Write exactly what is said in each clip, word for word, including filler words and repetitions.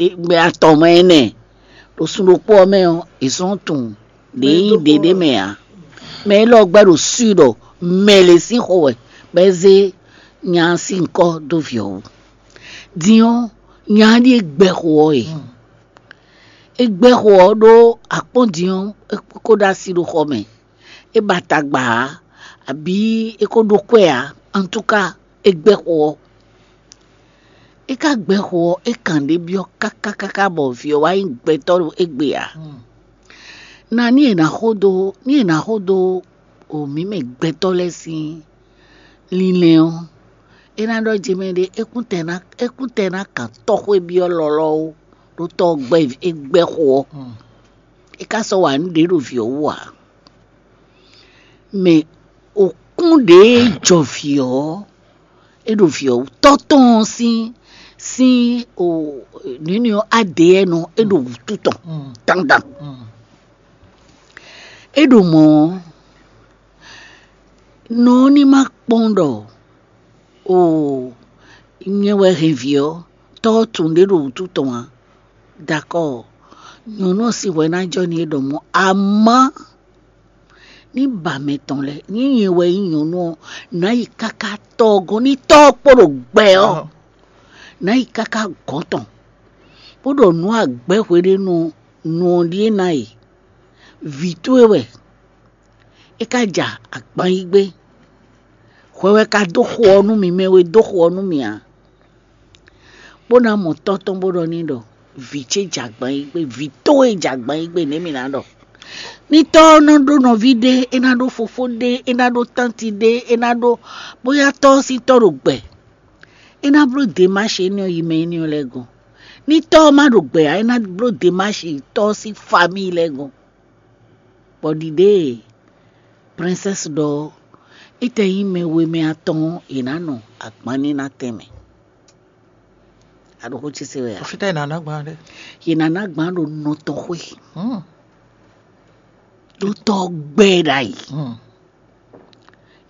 gbɛ atɔn mɛ ɛnɛ ɖo sun ɖokpó ɔ́ mɛ ɔ́, è sɔ́ tunwun ɖě nyí ɖě ɖé mɛ ǎ. Mɛ élɔ́ gbɛ́ ɖo swi ɖɔ mɛ lě sín xo wɛ bɔ é zé nya ɔ́ sín nyǐkɔ dó vǐ ɔ́ wú. Din ɔ́, nya ɔ́ ɖíe gbɛ́ xo ɔ́ e. É gbɛ́ xo ɔ́ ɖó akpɔ́n din ɔ́, é ko ɖó asi ɖo xɔ mɛ. É ba tagba ǎ, abǐ é ko ɖó kwɛ́ ǎ. Antúka, é gbɛ́ xo ɔ́. É ka gbɛ́ xo ɔ́, é kan ɖě byɔ́ káká káká bɔ vǐ ɔ́ wá nyí gbɛtɔ́ ɖo égbé ǎ. Na ní è nǎ xo dó ní è nǎ xo dó o mǐ mɛ gbɛtɔ́ lɛ́ɛ sín linlɛn ɔ́, é ná ɖɔ jɛ mɛ ɖé é kún tɛ ná é kún tɛ ná kan tɔ́ xwé byɔ́ lɔlɔ́ ó, ɖó tɔ́ ɔ́ gbɛ́ é gbɛ́ xo ɔ́. É ka sɔ́ wa nǔ ɖě ɖo vǐ ɔ́ wú ǎ. Mɛ òkún ɖě jɔ vǐ ɔ́, é ɖo vǐ ɔ́ wú. Tɔ́ tɔn ɔ́ sín sín o nǔnywɛ́ ɔ́ adě ɛnɔ é ɖo wǔtu tɔn dandan. É ɖo mɔ̌ ɔ́, nɔ ɔ́ ní ma kpɔ́n ɖɔ o nyɛ wɛ hɛn vǐ ɔ́, tɔ́ ɔ́ tunwun ɖě ɖo wǔtu tɔn ǎ. Dakɔ́, nyɔ̌nu ɔ́ sín hwɛ ná jɔ n'i é ɖɔ mɔ̌, amɔ̌ ní ba mɛ tɔn lɛ́ɛ, ní nyɛ wɛ nyí nyɔ̌nu ɔ́, nǎ yi káká tɔ́ ɔ́ gɔ́n, ní tɔ́ ɔ́ kpo ɖo gbɛ ɔ́, nǎ yi káká gɔ̌n tɔn, bó ɖɔ nǔ agbɛ́ hweɖénu nu ɔ́ ɖíe ná e. Vǐ towe wɛ, é ka ja agban yí gbé. Hwɛ wɛ ka dó xo ɔ́ nú mì, mɛ we dó xo ɔ́ nú mì ǎ. Bó ná mɔ tɔ́ tɔn bó ɖɔ n'i ɖɔ vǐ ce ja agban yí gbé, vǐ towe ja agban yí gbé, nɛ̌ mì ná ɖɔ? Ní tɔ́ ɔ́ nɔ ɖó nɔví ɖé, é ná ɖó fofó ɖé, é ná ɖó tánti ɖé, é ná ɖó bóyá tɔ́ ɔ́ sín tɔ́ ɖo gbɛ, é ná bló demáshi énɛ́ ɔ́ yi mɛ énɛ́ ɔ́ lɛ́ɛ gɔ́n. Ní tɔ́ ɔ́ má ɖo gbɛ ǎ, é ná bló demáshi tɔ́ ɔ́ sín famíi lɛ́ɛ gɔ́n. Bɔ ɖiɖée e Princesse ɖɔ ɔ́, é tɛ nyí mɛ we mɛ atɔn ɔ́, è nǎ nɔ agbanníná tɛn mɛ. A ɖo xó ce se wɛ a? Fítɛ́ è nǎ ná gbán ɖé. Yě ná ná gbán ɖo nɔ tɔn xwé, ɖó tɔ́ ɔ́ gbɛ ɛ ɖ'ayǐ.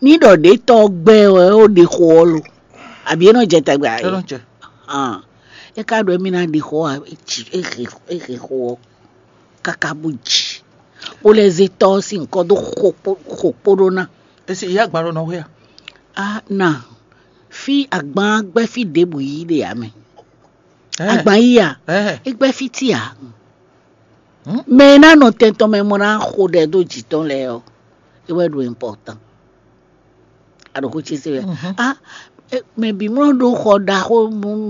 Ní ɖɔ ɖě tɔ́ ɔ́ gbɛ ɛ wɛ ó ɖe xo ɔ́ lo, abǐ é nɔ jɛ tɛgbɛ a? É nɔ jɛ. Hàn, é ka ɖɔ émí ná ɖi xó ǎ, é ji é he é he xó ɔ́ káká bó ji, bó lɛ́ zé tɔ́ ɔ́ sín nyǐkɔ dó xo kpó xo kpó ɖó ná. Esi ìyá gban ɖo nɔ xwé a? A na fí agban gbɛ́ fí ɖěbǔ yí ɖe ǎ mɛ. Agban yí a? É gbɛ́ fí tí ǎ. Mɛ e ná nɔ tɛn tɔn mɛ mɔ ná xo ɖɛ dó jǐ tɔn lɛ́ɛ ɔ́, é wɛ ɖo important. A ɖo xó ce se wɛ. A mɛ bǐ mlɔ́ ɖó xɔ ɖaxó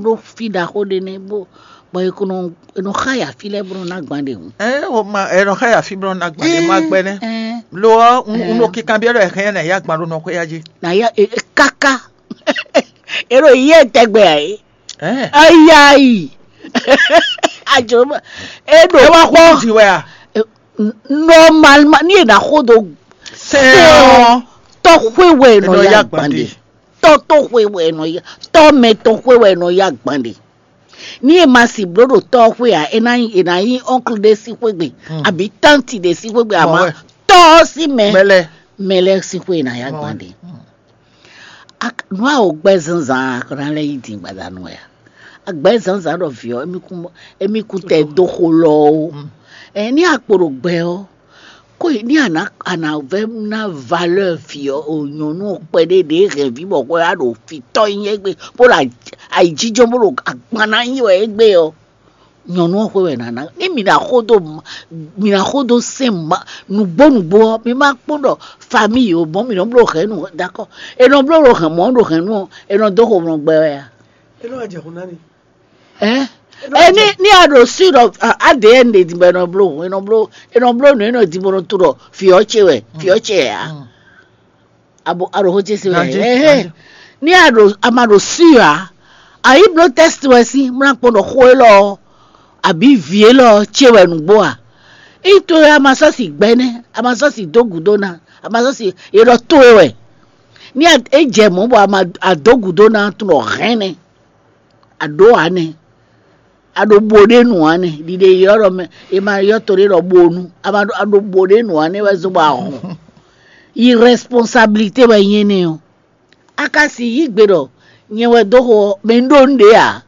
ɖó fí ɖaxó ɖé nɛ́ bó bɔ è ko nɔ è nɔ xá ya fí lɛ́ɛ bó nɔ ná gban ɖe hǔn. Ɛ o ma ɛ nɔ xá ya fí bó nɔ ná gban ɖe má gbɛ nɛ́. Lo ɔ́ un un ɖo kinkan byɔ́ ɖɔ ɛ hɛn ɛ nà yá gban ɖó nɔ xwé ya jí. Nà ya e e káká. E ɖo yɛ tɛgbɛ a é. Ɛ Ayayi. Ajoma. E ɖo ɛ wá xɔ kpɔ́. Di wɛ a. Normalement ní è nǎ xó dó Sɛ ɔ. Tɔ́ xwé wɛ è nɔ Enɔ yá yá gbande. Gbande. Tɔ́ tó xwé wɛ è nɔ yá tɔ́ mɛ tɔn xwé wɛ è nɔ yá gbande. Ní è ma sì bló ɖo tɔ́ ɔ́ xwé ǎ, è nǎ nyí è nǎ nyí ɔ́nklu ɖé sín xwé gbe, àbí tánti ɖé sín xwé gbe, àmọ́ Mɔwɛ. Tɔ́ ɔ́ sín mɛ Mɛlɛ. Mɛ lɛ́ɛ sín xwé è nǎ yá Mɔwɛ. Gbande. Nǔ a wǒ gbɛ́ zǎnzǎn a ná lɛ́ yí din gbadanu wɛ a? Agbɛ̌ zǎnzǎn ɖɔ vǐ ɔ́, émí kún émí kún tɛ dó xo lɔ ó. Ɛ ní akpo ɖo gbɛ ɔ́, kó ní a nǎ a nǎ vɛ́ ná valeur vǐ ɔ́ o nyɔ̌nu ɔ́ kpɛɖé ɖě hɛn vǐ bɔ xwɛ á ɖo fǐtɔ́ nyí égbé, bó ɖo ayǐjínjɔ́n bó ɖo agban ná nyi wɛ égbé ɔ́, nyɔ̌nu ɔ́ xwé wɛ nǎ ná. Ní mǐ ná xó dó mǐ ná xó dó sɛn nǔgbó nǔgbó ɔ́, mi ma kpɔ́n ɖɔ famille o mɔ̌ mǐ nɔ bló hɛ̌nnu dakɔ. È nɔ bló ɖo hɛ̌n mɔ̌ ɖo hɛ̌nnu ɔ́, è nɔ dó xomlɔ gbɛ wɛ a? É nɔ wá jɛ xo ná mi. Ɛ ɛ ní ní a ɖo sí ɖɔ A D N ɖe din bɔ è nɔ bló hǔn, è nɔ bló è nɔ bló nǔ, è nɔ din bɔ è nɔ to ɖɔ fǐ ɔ́ ce wɛ, fǐ ɔ́ ce wɛ a? Abo a ɖo xó ce se wɛ. Ganji, ɛhɛn ganji. Ní a ɖo a ma ɖo sí ǎ, a yi bló tɛ́st wɛ sí mlá kpɔn ɖɔ xó élɔ́ ɔ́, abǐ vǐ élɔ́ ɔ́ ce wɛ nǔgbó a? Ító a ma sɔ́ si gbɛ́ nɛ́, a ma sɔ́ si dó gǔdo ná, a ma sɔ́ si è ɖɔ towe wɛ. Ní a é jɛ mɔ̌ bɔ a ma a dó gǔdo ná tunɔ hɛn nɛ́. A ɖǒ ǎ nɛ́. A ɖo bo ɖé nu ǎ nɛ́. Ɖiɖe ylɔ́ ɖɔ mɛ è ma ylɔ́ to ɖé ɖɔ bonu. A ma ɖo a ɖo bo ɖé nu ǎ nɛ́ wɛ zɔ́n bɔ a hɔn. Yi responsabilité wɛ nyí énɛ́ ɔ́. A ka si yí gbe ɖɔ nyɛ wɛ dó xo ɔ́, mɛ un ɖó un ɖě ǎ.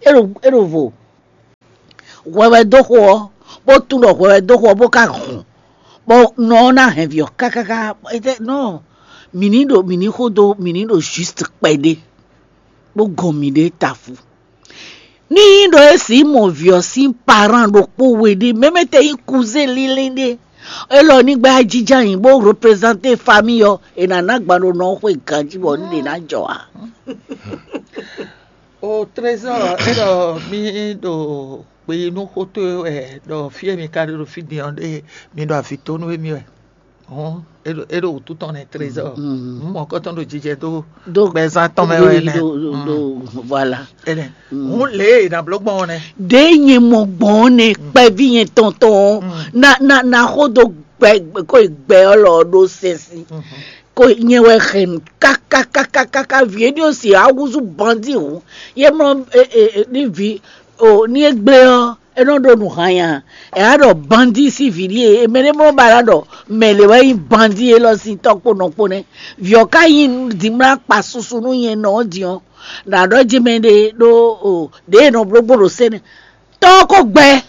É ɖo é ɖo vo. hwɛhwɛ dó xo ɔ́, bó tunwun ɖɔ hwɛhwɛ dó xo ɔ́, bó ka hɔn, bɔ nɔ ɔ́ ná hɛn vǐ ɔ́ kákáká. Étɛ́ nɔ mǐ ní ɖo mǐ ní xo dó mǐ ní ɖo juste kpɛɖé, bó gɔn mǐɖée tafu. Ní nyí ɖɔ é sǐ mɔ vǐ ɔ́ sín parán ɖokpó we ɖé, mɛmɛ tɛ nyí kuzé línlín ɖé, élɔ́ ní gbɛ́ ajijɛ nyi bó reprezanté famille ɔ́, è nǎ ná gban ɖo nɔ xwe ganjí bɔ ní ɖě ná jɔ ǎ. O trésor, é ɖɔ mí ɖo kpe nú xó towe wɛ, ɖɔ fí e mi ka ɖe ɖo fí din ɔ́ ɖe mi ɖo avǐ tó nú émí wɛ. Hɔn é ɖo é ɖo wǔtu tɔn nɛ trésor. Mɔ̌kɔtɔn ɖo jijɛ dó Dó gbɛzán tɔn mɛ wɛ nɛ. Voilà. Hǔn lě e è nǎ bló gbɔn ɔ́ nɛ́. Ɖěe nyɛ mɔ gbɔn ɔ́ nɛ, kpɛví nyɛ tɔn tɔn ɔ́, na na na xó dó gbɛ ko gbɛ ɔ́ lɔ ɖó sɛnsin. Ko nyɛ wɛ hɛn kákákákáká vǐ énɛ́ ɔ́ si awúzú bandí hǔn. Yé mlɔ ní vǐ o ní é gblé ɔ́, é nɔ ɖó nǔ hanya. È nǎ ɖɔ bandí sín vǐ ɖíe, mɛ ɖé mlɔ́ ba ná ɖɔ mɛ lě wɛ nyí bandí élɔ́ sín tɔ́ kpó nɔ kpó nɛ́. Vǐ ɔ́ ka nyí dinmlá kpa susu nú nyɛ nɔ ɔ́ din ɔ́, nǎ ɖɔ jí mɛ ɖé ɖó o ɖěe nɔ bló gbɔn ɖo sɛ́nɛ. Tɔ́ ɔ́ ko gbɛ,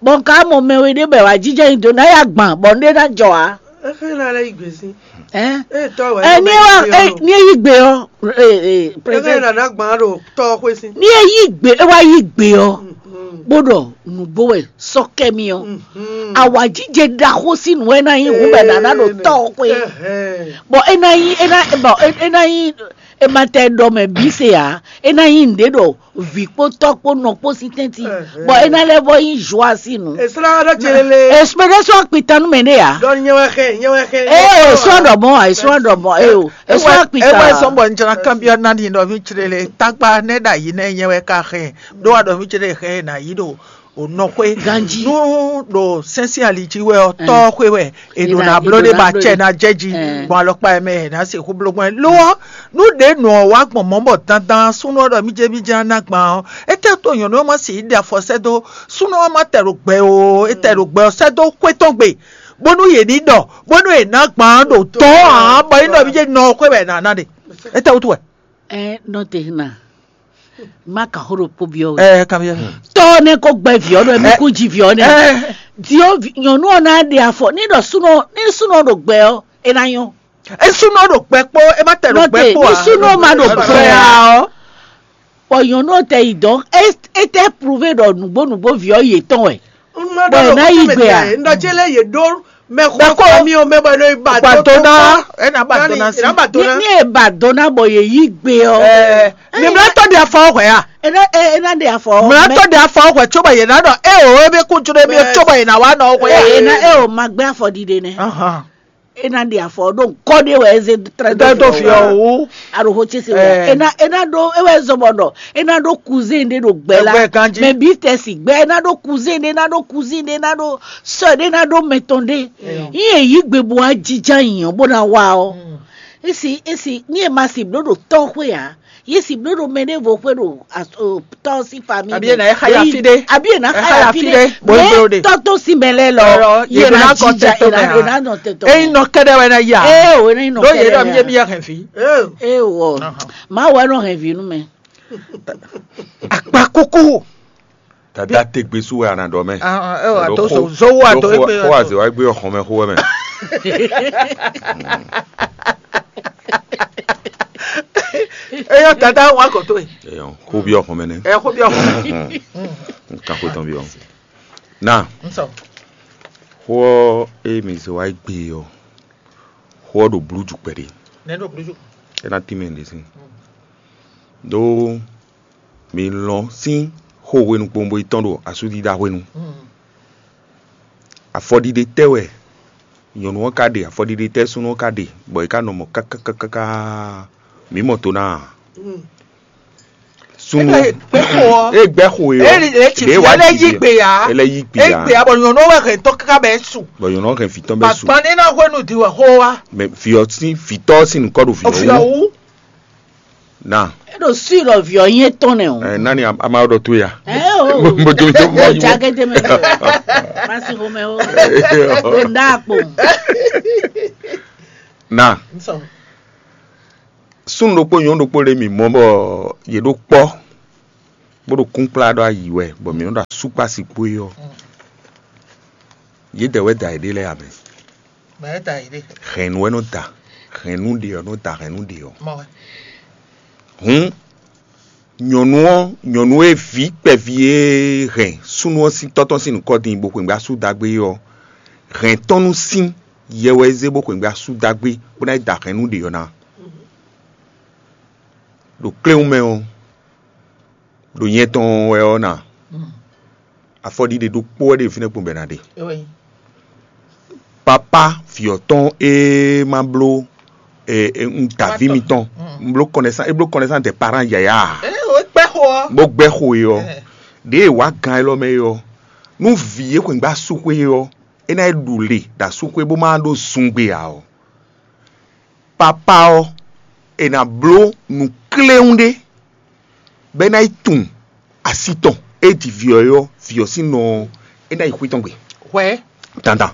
bɔ un ka mɔ mɛ we ɖé bɔ è wǎ jínjɔ́n nyi do ná yi agban, bɔ un ɖé ná jɔ ǎ. Éxé ná lɛ́ yí gbe sín. Ɛ Ée tɔ́ wɛ ɛ ní é wá ɛ ní é yí gbe ɔ́, ɛ ɛ Éxé président ná ná gbǎn ɖo tɔ́ ɔ́ xwé sín. Ní é yí gbe é wá yí gbe ɔ́, bó ɖɔ nǔgbó wɛ sɔ́ kɛ mì ɔ́, awǎjijɛ ɖaxó sín nǔ wɛ ná nyí hǔn bɔ è nǎ ná ɖo tɔ́ ɔ́ xwé. Bɔ é ná nyí é ná bɔ é ná nyí è ma tɛ ɖɔ mɛ bǐ se ǎ, é ná nyí nǔɖé ɖɔ vǐ kpó tɔ́ kpó nɔ kpó sín tɛ́ntin, bɔ é ná lɛ́ vɔ nyí Joasi nǔ. È slá ɖɔ ce lélé. Èsúmɛɖé sɔ́ akpitan nú mɛ ɖé ǎ. Ɖɔ nyɛ wɛ xɛ, nyɛ wɛ xɛ. Ee, èsú aɖɔmɔ, èsú aɖɔmɔ, ee o, èsú akpitan. Ewɛ sɔn bɔ n jana kanbyɔ nani ɖɔ mi tsre le tagba nɛ ɖo ayi nɛ nyɛ wɛ ka xɛ ɖo wa ɖɔ mi tsre xɛ na yi ɖo o nɔ xwe. Ganji. Nu ɖo sɛnsi ali jí wɛ ɔ tɔ xwe wɛ e ɖo na bló ɖe ba cɛ na jɛ ji gbɔn alɔkpa yɛ mɛ yɛ na se xó bló gbɔn lo ɔ nu ɖe nɔ wa gbɔn mɔ bɔ dandan súnú ɔ ɖɔ mi jɛ mi jɛ na gban ɔ etɛ to nyɔnu ɔ ma si yi ɖe afɔ sɛ do súnú ɔ ma tɛ ɖo gbɛ o etɛ ɖo gbɛ ɔ sɛ do xwe tɔn gbe bónú yě ní ɖɔ bónú yě ná gbǎn ɖo tɔ́ ǎ bɔ é nɔ bí jɛ nɔ xwé wɛ nǎ ná ɖe. Étɛ́ wútu wɛ? Ɛ nɔ te na má ka xó ɖokpó byɔ́ we. Ɛ kanbyɔ́. Tɔ́ ɔ́ nɛ́ kó gbɛ vǐ ɔ́ ɖɔ mí kú ji vǐ ɔ́ nɛ́. Ɛ Diɔ nyɔ̌nu ɔ́ ná ɖe afɔ ní ɖɔ súnɔ ní súnɔ ɖo gbɛ ɔ́ é ná nyɔ́. É súnɔ ɖo gbɛ kpó é má tɛ ɖo gbɛ Nɔte kpó ní ǎ. Súnɔ má ɖo gbɛ ǎ. Ɔ Bɔ nyɔ̌nu ɔ́ tɛ yi dɔn, é é tɛ prouvé ɖɔ nǔgbó nǔgbó vǐ ɔ́ yětɔn wɛ. Bɔ è nǎ yi gbe a? Ŋɖɔ ce lɛ́ɛ yě ɖó mɛxó mi ɔ́ mɛ bɔ è nɔ yi ba Ba do dó ná, ná. É ná ba dó ná sí. È nǎ ba do Ní ná. Ní è ba dó ná bɔ yě yí gbe ɔ́. Ɛ mi mlá tɔ́ ɖe afɔ hwɛ a? É ná é é ná ɖe afɔ. Mlá tɔ́ ɖe afɔ hwɛ tsoba yě ná ɖɔ é o é bɛ kú jró mi Bɛɛ. Tsoba yě ná wá nɔ hwɛ a? É ná é o ma gbé afɔ ɖiɖe nɛ. Ahàn. É ná ɖe afɔ ɖó ŋkɔ ɖé wɛ é zé trɛ́ Dó dó fi ɔ́ wú. Aɖo xó ce se wɛ. Ɛ. É ná é ná ɖó é wɛ zɔn bɔ ɖɔ é ná ɖó cousin ɖé ɖo gbɛ la. Gbɛ ganjí. Mɛ bí tɛ si gbɛ é ná ɖó cousin ɖé ná ɖó cousine ɖé ná ɖó sœur ɖé ná ɖó mɛtɔn ɖé. Yín èyí gbe bo wá jija yìnyɔn bó ná wá ɔ. Esi esi ní e ma si bló ɖo tɔ́ xwé ǎ. Yé si bló ɖo mɛ ɖé vo xwé ɖo tɔ́ sín famille. Àbí è nà é xáya fí ɖé? Àbí è nà xáya fí ɖé? Bó é bló ɖe. Tɔ́ tó sín mɛ lɛ́ɛ lɔ. Yé ná kɔ tɛ tó mɛ ǎ. Ényí nɔ kɛɖɛ wɛ ná yá. Ee o ényí nɔ kɛɖɛ wɛ. Ɖó yé ɖɔ mi yé mi yɛ hɛn fí. Ee o. Má wɛ nɔ hɛn vǐ nú mɛ. Akpa kúkú. Dada te gbe sú wɛ a nà ɖɔ mɛ. Ɛ wà tó so zó wà tó égbé. Xó wà zè wá gbé ọ̀hún mɛ xó wɛ mɛ. Eyɔ tata wa kò tó yi. Eyɔ kó bí ọ̀hún mɛ nɛ. Ɛ kó bí ọ̀hún. Nǹkan kó tán bí ọ̀hún. Na N sɔ. Xó ɔ é mi zè wá gbé ɔ xó ɔ ɖo blú jù kpɛɖé. Nɛ ɖo blú jù. É ná tí mɛ ɖé sí. Ɖó mi lɔn sín xó hwenu kpowun bo yi tɔ́n ɖo asúdídá hwenu. Afɔɖiɖe tɛ́ wɛ nyɔ̌nu ɔ́ ka ɖe, afɔɖiɖe tɛ́ súnnu ɔ́ ka ɖe, bɔ è ka nɔ mɔ káká káká mǐ mɔ to ná a? Súnnu Ebe gbɛxo ɔ. E gbɛ xo e ɔ. Ele le tsi Ɖe fi wa ele yi gbe ya. Ele yi gbe ya. Egbe ya bɔ nyɔnu wɛ hɛn tɔ kaka bɛ su. Bɔ nyɔnu hɛn fi tɔn bɛ su. Papa ne na hwenu di wɛ xo wa. Mɛ fi ɔ sin fi tɔ sin nukɔ ɖo fi Ofi ɔ wu. Wu. Na. E ɖo su ɖɔ vi ɔ nye tɔn nɛ o. Ɛ nani ama ɖɔ to ya. Ɛ o. Mo jo jo mo O yi mo. Jage de me. Masi ko me o. Nda ko. Na. Nsɔ. Súnnu ɖokpó nyɔ̌nu ɖokpó ɖé mì mɔ bɔ yě ɖó kpɔ́. bó ɖo kúnkplá ɖɔ ayǐ wɛ, bɔ mǐ nɔ ɖo asúkpási kpó é ɔ́, yědɛɛ wɛ da yěɖée lɛ́ɛ ǎ mɛ. Mɛ da yě ɖe. Hɛ̌nnu wɛ nɔ da, hɛ̌nnu ɖe ɔ́ nɔ da hɛ̌nnu ɖe ɔ́. Mɔ wɛ. Hǔn nyɔ̌nu ɔ́, nyɔ̌nu e vǐ kpɛví e hɛn súnnu ɔ́ sín tɔ́ tɔn sín nǔkɔ din bó xweyǐgbe asú dagbe é ɔ́, hɛ̌n tɔn nú sín yɛ wɛ é zé bó xweyǐgbe asú dagbe bó ná yi da hɛ̌nnu ɖe ɔ́ ná. Ɖo kléwún mɛ ɔ́, ɖo nyɛ tɔn wɛ ɔ́ na, afɔɖiɖe ɖokpó wɛ ɖe fínɛ́ kpɔ́n bɔ è nǎ ɖe. Papá vǐ ɔ́ tɔn e ma bló un ta vǐ mitɔn, un bló kɔnɛsán, é bló kɔnɛsán dɛ parán yǎyá, bó gbɛ́ xo é ɔ́, ɖěe wǎ gan élɔ́ mɛ é ɔ́, nú vǐ e xweyǐgbe asú xwé é ɔ́, é ná yi ɖu le ɖo asú xwé bó ma ɖó zungbe ǎ ɔ́, papá ɔ́, è nǎ bló nǔkléwún ɖé bɔ é ná yi tunwun asi tɔn e ji vǐ ɔ́ é ɔ́, vǐ ɔ́ sín nɔ ɔ́, é ná yi xwé tɔn gbe. Hwɛ. Dandan.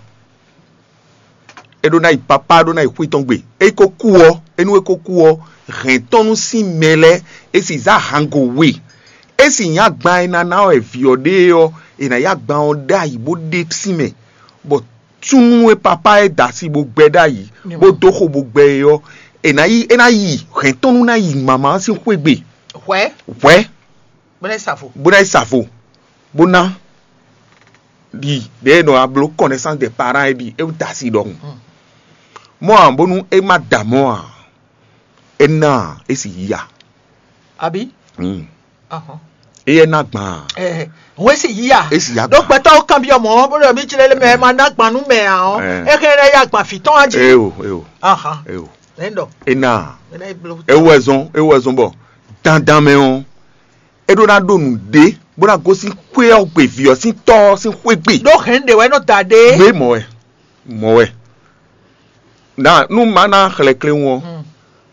É ɖó ná yi papá ɖó ná yi xwé tɔn gbe. É yi ko kú ɔ́, é nú é ko kú ɔ́, hɛ̌n tɔn nú sín mɛ lɛ́ɛ, é sì zá hango we. É sì nyí agban e ná ná wɛ vǐ ɔ́ ɖe é ɔ́, è nǎ yí agban ɔ́ ɖ'ayǐ bó ɖe sín mɛ, bɔ súnnu e papá e da asi bó gbɛ ɖ'ayǐ, bó dó xo bó gbɛ é ɔ́, è nǎ yi é ná yi hɛ̌n tɔn nú ná yi mama ɔ́ sín xwé gbe. Hwɛ. Hwɛ. Bó ná yi sa vo. Bó ná yi sa vo, bó ná ɖi ɖě e nɔ wá bló kɔnɛsán de parán é ɖi é wú da asi ɖɔhun. Mɔ̌ ǎ bónú é má da mɔ̌ ǎ, é ná ǎ, é sì yí ya. Abi. Éyɛ́ ná gbɔn ǎ. Hɔn é sì yí ya. É sì yá gbɔn. Ɖó gbɛtɔ́ kanbyɔ́ mɔ̌ bó ɖɔ mí jlé mɛ ɛ ma ná gbɔn nú mɛ ǎ ɔ́, é hɛn ná yá gbɔn fǐ tɔn á jí. Eo eo Ahán. Eo. Nɛ̌ ɖɔ? É ná ǎ. Mɛ ná yi bló. É wɛ zɔn é wɛ zɔn bɔ dandan mɛ ɔ́, é ɖó ná ɖo nǔɖé bó ná gosín xwé ɔ́ gbe vǐ ɔ́ sín tɔ́ ɔ́ sín xwé gbe. Ɖó hɛ̌n ɖě wɛ nɔ da ɖe. Gbé mɔ̌ wɛ, mɔ̌ wɛ. Ná nú má ná xlɛ́ kléwún ɔ́,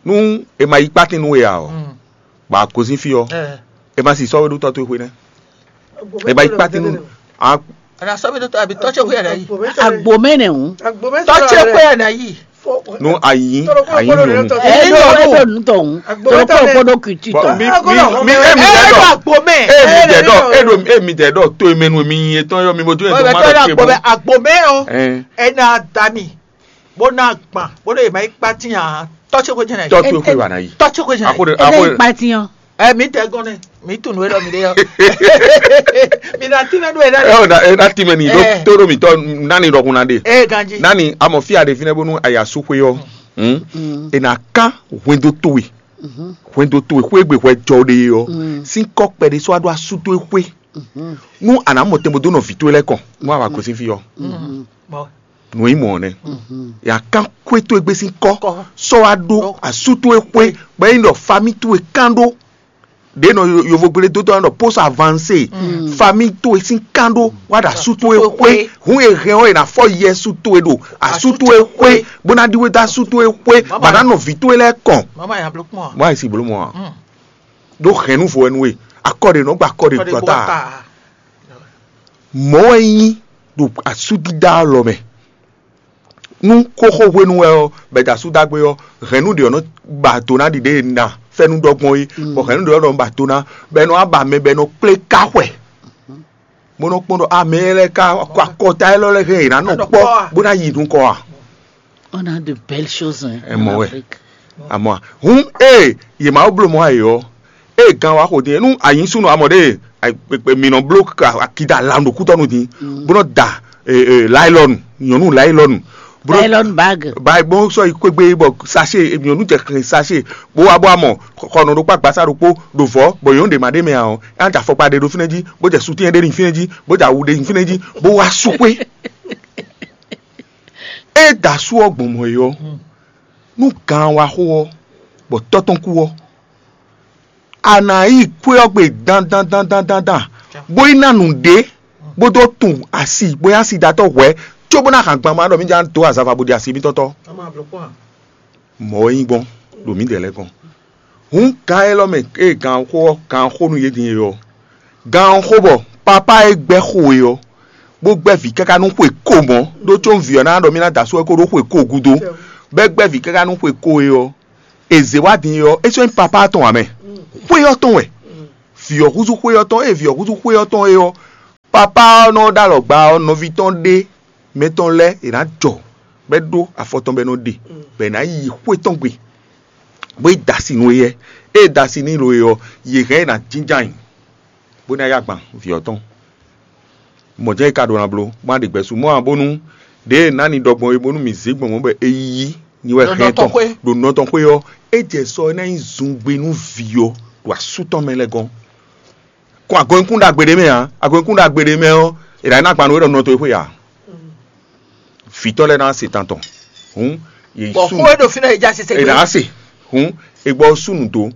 nú è ma yí kpátín nú we ǎ ɔ́, bɔ a gosín fí ɔ́, è ma sì sɔ́ we ɖó tɔ́ towe xwé nɛ́. È ma yí kpátín nú a Ana sɔ́ mi ɖó tɔ́ abǐ tɔ́ ce xwé ɛnɛ yí. Agbo mɛ nɛ hǔn. Tɔ́ ce xwé ɛnɛ yí. Nú a yí a yí nyɔ̌nu. Ɛ ɖo ɛ ɖo nǔ tɔn hǔn. Tɔlɔ kó kó ɖó kìtì tɔn. Mi mi mi emi dɛ dɔ agbo mɛ. Emi dɛ dɔ e ɖo emi dɛ dɔ to emenu mi nyi etɔn yɔ mi bo to yɛ to ma dɔ ce bo. Agbo mɛ o. Ɛn. Ena dami. Bó ná gbɔn bó ɖo yě ma yi kpátín ǎ. Tɔ́ ce xwé jɛnɛ. Tɔ́ ce xwé wà ná yí. Tɔ́ ce xwé jɛnɛ. Ako de Ɛ ako ní de. Kpátín ɔ́. Ɛ mi tɛ gɔn nɛ mi tun nú elɔ mi ɖe yɔ. Mi na tínmɛ nú ɛ ɛ o na ɛ na tínmɛ ni ɖó Ɛ. Tó ɖo mi tɔ nani ɖɔhun na ɖe. Ɛ ganji. Nani amɔ fia ɖe fínɛ bónú aya sú xwé ɔ́. Hmm? Mm. E na kán hwendo towe. Mhm. Hwendo towe xwé gbe hwɛ jɔ ɖe ɔ́. Mm. Sín kɔ kpɛɖé sɔ aɖo asú towe xwé. Mhm. Nú a nǎ mɔ tɛnbó dó nɔ vǐ towe lɛ́ɛ kɔn nú a wǎ gosín fí ɔ́. Mhm. Nǔ e nyí mɔ̌ ɔ́ nɛ́. Mhm. Ya kán xwé towe gbé sín kɔ́ sɔ́ wá ɖó asú towe xwé, bɔ é nyí ɖɔ famí towe kán ɖó. Ɖě nɔ yovogblé dó tɔn ɖɔ post avancé, famí towe sín kán ɖó wá ɖo asú towe xwé. Hǔn e hɛn ɔ́, è nǎ fɔ yɛ sú towe ɖo asú towe xwé, bó ná ɖíwé dó asú towe xwé, bɔ ná nɔ vǐ towe lɛ́ɛ kɔn. Mama ya bló kpɔn. Bó a yi si bló mɔ a? Ɖó hɛn nú vo wɛ nú we, akɔ ɖe nɔ gba akɔ ɖe gɔta. Mɔ̌ wɛ nyí ɖo asúdídá lɔ mɛ. Nú xóxó hwenu wɛ ɔ́, bɛda sú dagbe ɔ́, hɛ̌nnu ɖě ɔ́ nɔ ba do ná ɖiɖe e na fɛ́nú ɖɔ gbɔn é, bɔ hɛ̌nnu ɖě ɔ́ nɔ ba do ná, bɔ ɛ nɔ wá ba mɛ bɔ ɛ nɔ kplé ká xwɛ, bó nɔ kpɔ́n ɖɔ amɛ lɛ́ɛ ká kɔ akɔta élɔ́ lɛ́ɛ hɛn è nǎ nɔ kpɔ́ bó ná yi nukɔn a? On a de belles choses, hein, en Afrique. Amɔ hǔn ée yě ma wó bló mɔ ayǐ ɔ́, ée gan wá xo din é, nú a nyǐ súnnu amɔ ɖe mǐ nɔ bló akida lan ɖo kútɔ́nu din, bó nɔ da laylɔnu, nyɔ̌nu laylɔnu, bó nɔ Nylon bag. Ba bó sɔ́ yi kpégbé bɔ sachet nyɔ̌nu jɛ xlɛn sachet, bó wá bó amɔ xɔnɔ ɖokpó agbasa ɖokpó ɖo vɔ̌, bɔ nyɔ̌nu ɖě ma ɖ'é mɛ ǎ ɔ́, é ná jɛ afɔkpa ɖé ɖó fínɛ́ jí, bó jɛ sutɛ́n ɖé ɖi fínɛ́ jí, bó jɛ awu ɖé ɖi fínɛ́ jí, bó wá sú xwé. É da asú ɔ́ gbɔn mɔ̌ é ɔ́, nú gan wá xo ɔ́, bɔ tɔ́ tɔn kú ɔ́, a nǎ yi kwé ɔ́ gbe dandandandandan, bó yi ná nǔɖé, bó dó tunwun asi, bó nyí asidatɔ́ hwɛ̌, cóbó ná hǎn gban ma ɖɔ mì ján dó azava bó ɖi asi mítɔn tɔ́. Mɔ̌ wɛ nyí gbɔn ɖo mǐdɛɛ lɛ́ɛ gɔ́n. Hǔn gan élɔ́ mɛ e gan xó ɔ́, gan xó nú yě din e ɔ́, gan ɔ́ xó bɔ papá e gbɛ́ xo e ɔ́, bó gbɛ́ vǐ káká nú xwe ko mɔ̌, ɖó có vǐ ɔ́ ná ɖɔ mì ná da asú wɛ kó ɖó xwe ko gúdo, bɔ é gbɛ́ vǐ káká nú xwe ko e ɔ́, è zě wá din e ɔ́, é sɔ́ nyí papá tɔn ǎ mɛ, xwé ɔ́ tɔn wɛ. vǐ ɔ́ húzú xwé ɔ́ tɔn, ée vǐ ɔ́ húzú xwé ɔ́ tɔn é ɔ́, papá ɔ́ nɔ ɖó alɔgba ɔ́, nɔví tɔn ɖé mɛ tɔn lɛ́ɛ è nǎ jɔ, bɔ é ɖó afɔ tɔn bɔ é nɔ ɖe, bɔ è nǎ yi xwé tɔn gbe, bó yi da asi nú éyɛ́. Ée da asi n'i lo e ɔ́, yě hɛn ɛ ná jínjɔ́n ayǐ, bó ná yá gban vǐ ɔ́ tɔn. Mɔ̌ jɛ́n é ka ɖó ná bló, bó ná ɖe gbɛ̌ sú mɔ̌ ǎ, bónú ɖěe ná ni ɖɔ gbɔn é, bónú mǐ zé gbɔn mɔ̌ bɔ é yí nyi wɛ Ɖo hɛn nɔ tɔn tɔn xwé. Ɖo nɔ tɔn xwé ɔ́, é jɛ sɔ é ná nyí zungbe nú vǐ ɔ́ ɖo asú tɔn mɛ lɛ́ɛ gɔ́n. Kɔn agɔnkún ɖagbe ɖé mɛ ǎ, agɔnkún ɖagbe ɖé mɛ ɔ́, è nǎ ná gban nú é ɖɔ nɔ tɔn e xwé ǎ. Vǐ tɔn lɛ́ɛ ná se tantɔn. Hǔn yě Bɔ sú xó e ɖo fínɛ́ è já sise è gbé. Nǎ se. Hǔn è gbɔ sú nǔ dó,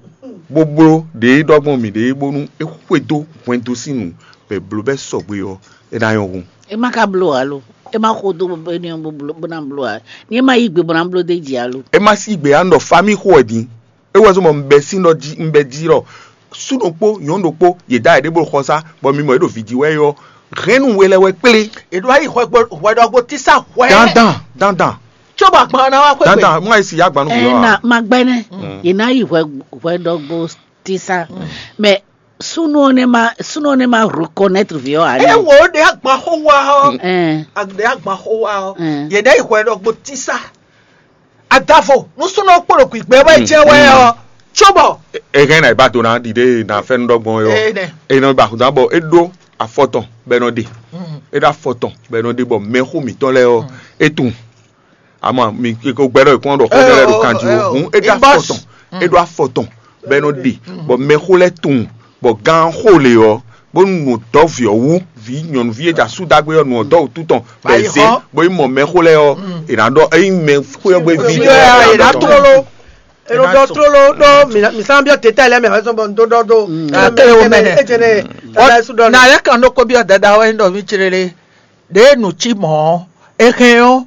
bó bló ɖě ɖɔ gbɔn mǐɖée bónú é xwedó hwɛndo sín nǔ, bɔ è blǒ bɛ́ sɔgbe ɔ́, é ná nyɔ́ hun. E ma ka bló alo? E ma xo dó bɔ é ní bó bló bó ná bló ǎ. Ní e ma yí gbe bó ná bló d'é jí alo? É ma sí gbe ǎ, un ɖɔ famíxó wɛ din. É wɛ zɔ́n bɔ un bɛ sín ɖɔ jí un bɛ jí ɖɔ sú ɖokpó nyɔ̌nu ɖokpó yě dó ayǐ ɖé bó ɖo xɔ sá, bɔ mi mɔ yě ɖo vǐ jí wɛ é ɔ́, hɛ̌nnu we lɛ́ wɛ kplé. È ɖo ayǐ hwɛ gbo hwɛ ɖɔgbo tísá hwɛ. Dandan, dandan, Cóbɔ agban ná wá xwé gbe. Dandan, wọ́n yí si yá gbanú vǐ Ɛ ɔ́ na ǎ. Ma gbɛnɛ. Yě ná yi hwɛ hwɛ ɖɔgbo tísá. Mɛ súnú ɔ́ nɛ ma súnú ɔ́ nɛ ma reconnaître vǐ ɔ́ ǎ. Ɛ wo ɖe agban xó wa ɔ. Ɛn. Ɖe agban xó wa ɔ. Yě ɖe yi hwɛ ɖɔgbo tísá. Adavo nú súnú ɔ́ kpo ɖo gbǐgbɛ wɛ jɛ wɛ ɔ. Cóbɔ. Ehɛn na ìbá do ná ɖiɖe na fɛ́nú ɖɔgbɔn é ɔ́. Ene. Enɔ ba xudá bɔ é ɖó afɔ tɔn bɔ é nɔ ɖe. É ɖó afɔ tɔn bɔ é nɔ ɖe bɔ mɛxó mǐtɔn lɛ́ɛ ɔ́ é tunwun. Ama mi ko gbɛɖɔ ìkún ɖɔ xó lɛ́ ɖo kanji o. Hǔn é ɖó afɔ tɔn, é ɖó afɔ tɔn bɔ é nɔ ɖe bɔ mɛxó lɛ́ɛ tunwun bɔ gán xó lě ɔ́, bónú nǔ dɔ́ vǐ ɔ́ wú, vǐ nyɔ̌nuví e ɖo asú dó agbe ɔ́, nǔ ɔ́ dɔ́ wǔtu tɔn bɔ è zé bó yi mɔ mɛxó lɛ́ɛ ɔ́, è nǎ ɖɔ ényí mɛxó ɔ́ gbé ví Vǐ ɔ́, è nǎ tlóló. È nɔ ɖɔ tlóló ɖó mǐ sán byɔ́ teta lɛ́ɛ mɛ wɛ sɔ́ bɔ un dó ɖɔ ɖó. Akéré wo mɛ nɛ. Ejene tata su ɖɔ. Na lɛ kan ɖó kó byɔ́ dada wɛ ɖɔ mí célé. Ɖě nu cí mɔ̌ ɔ́, é hɛn ɔ́,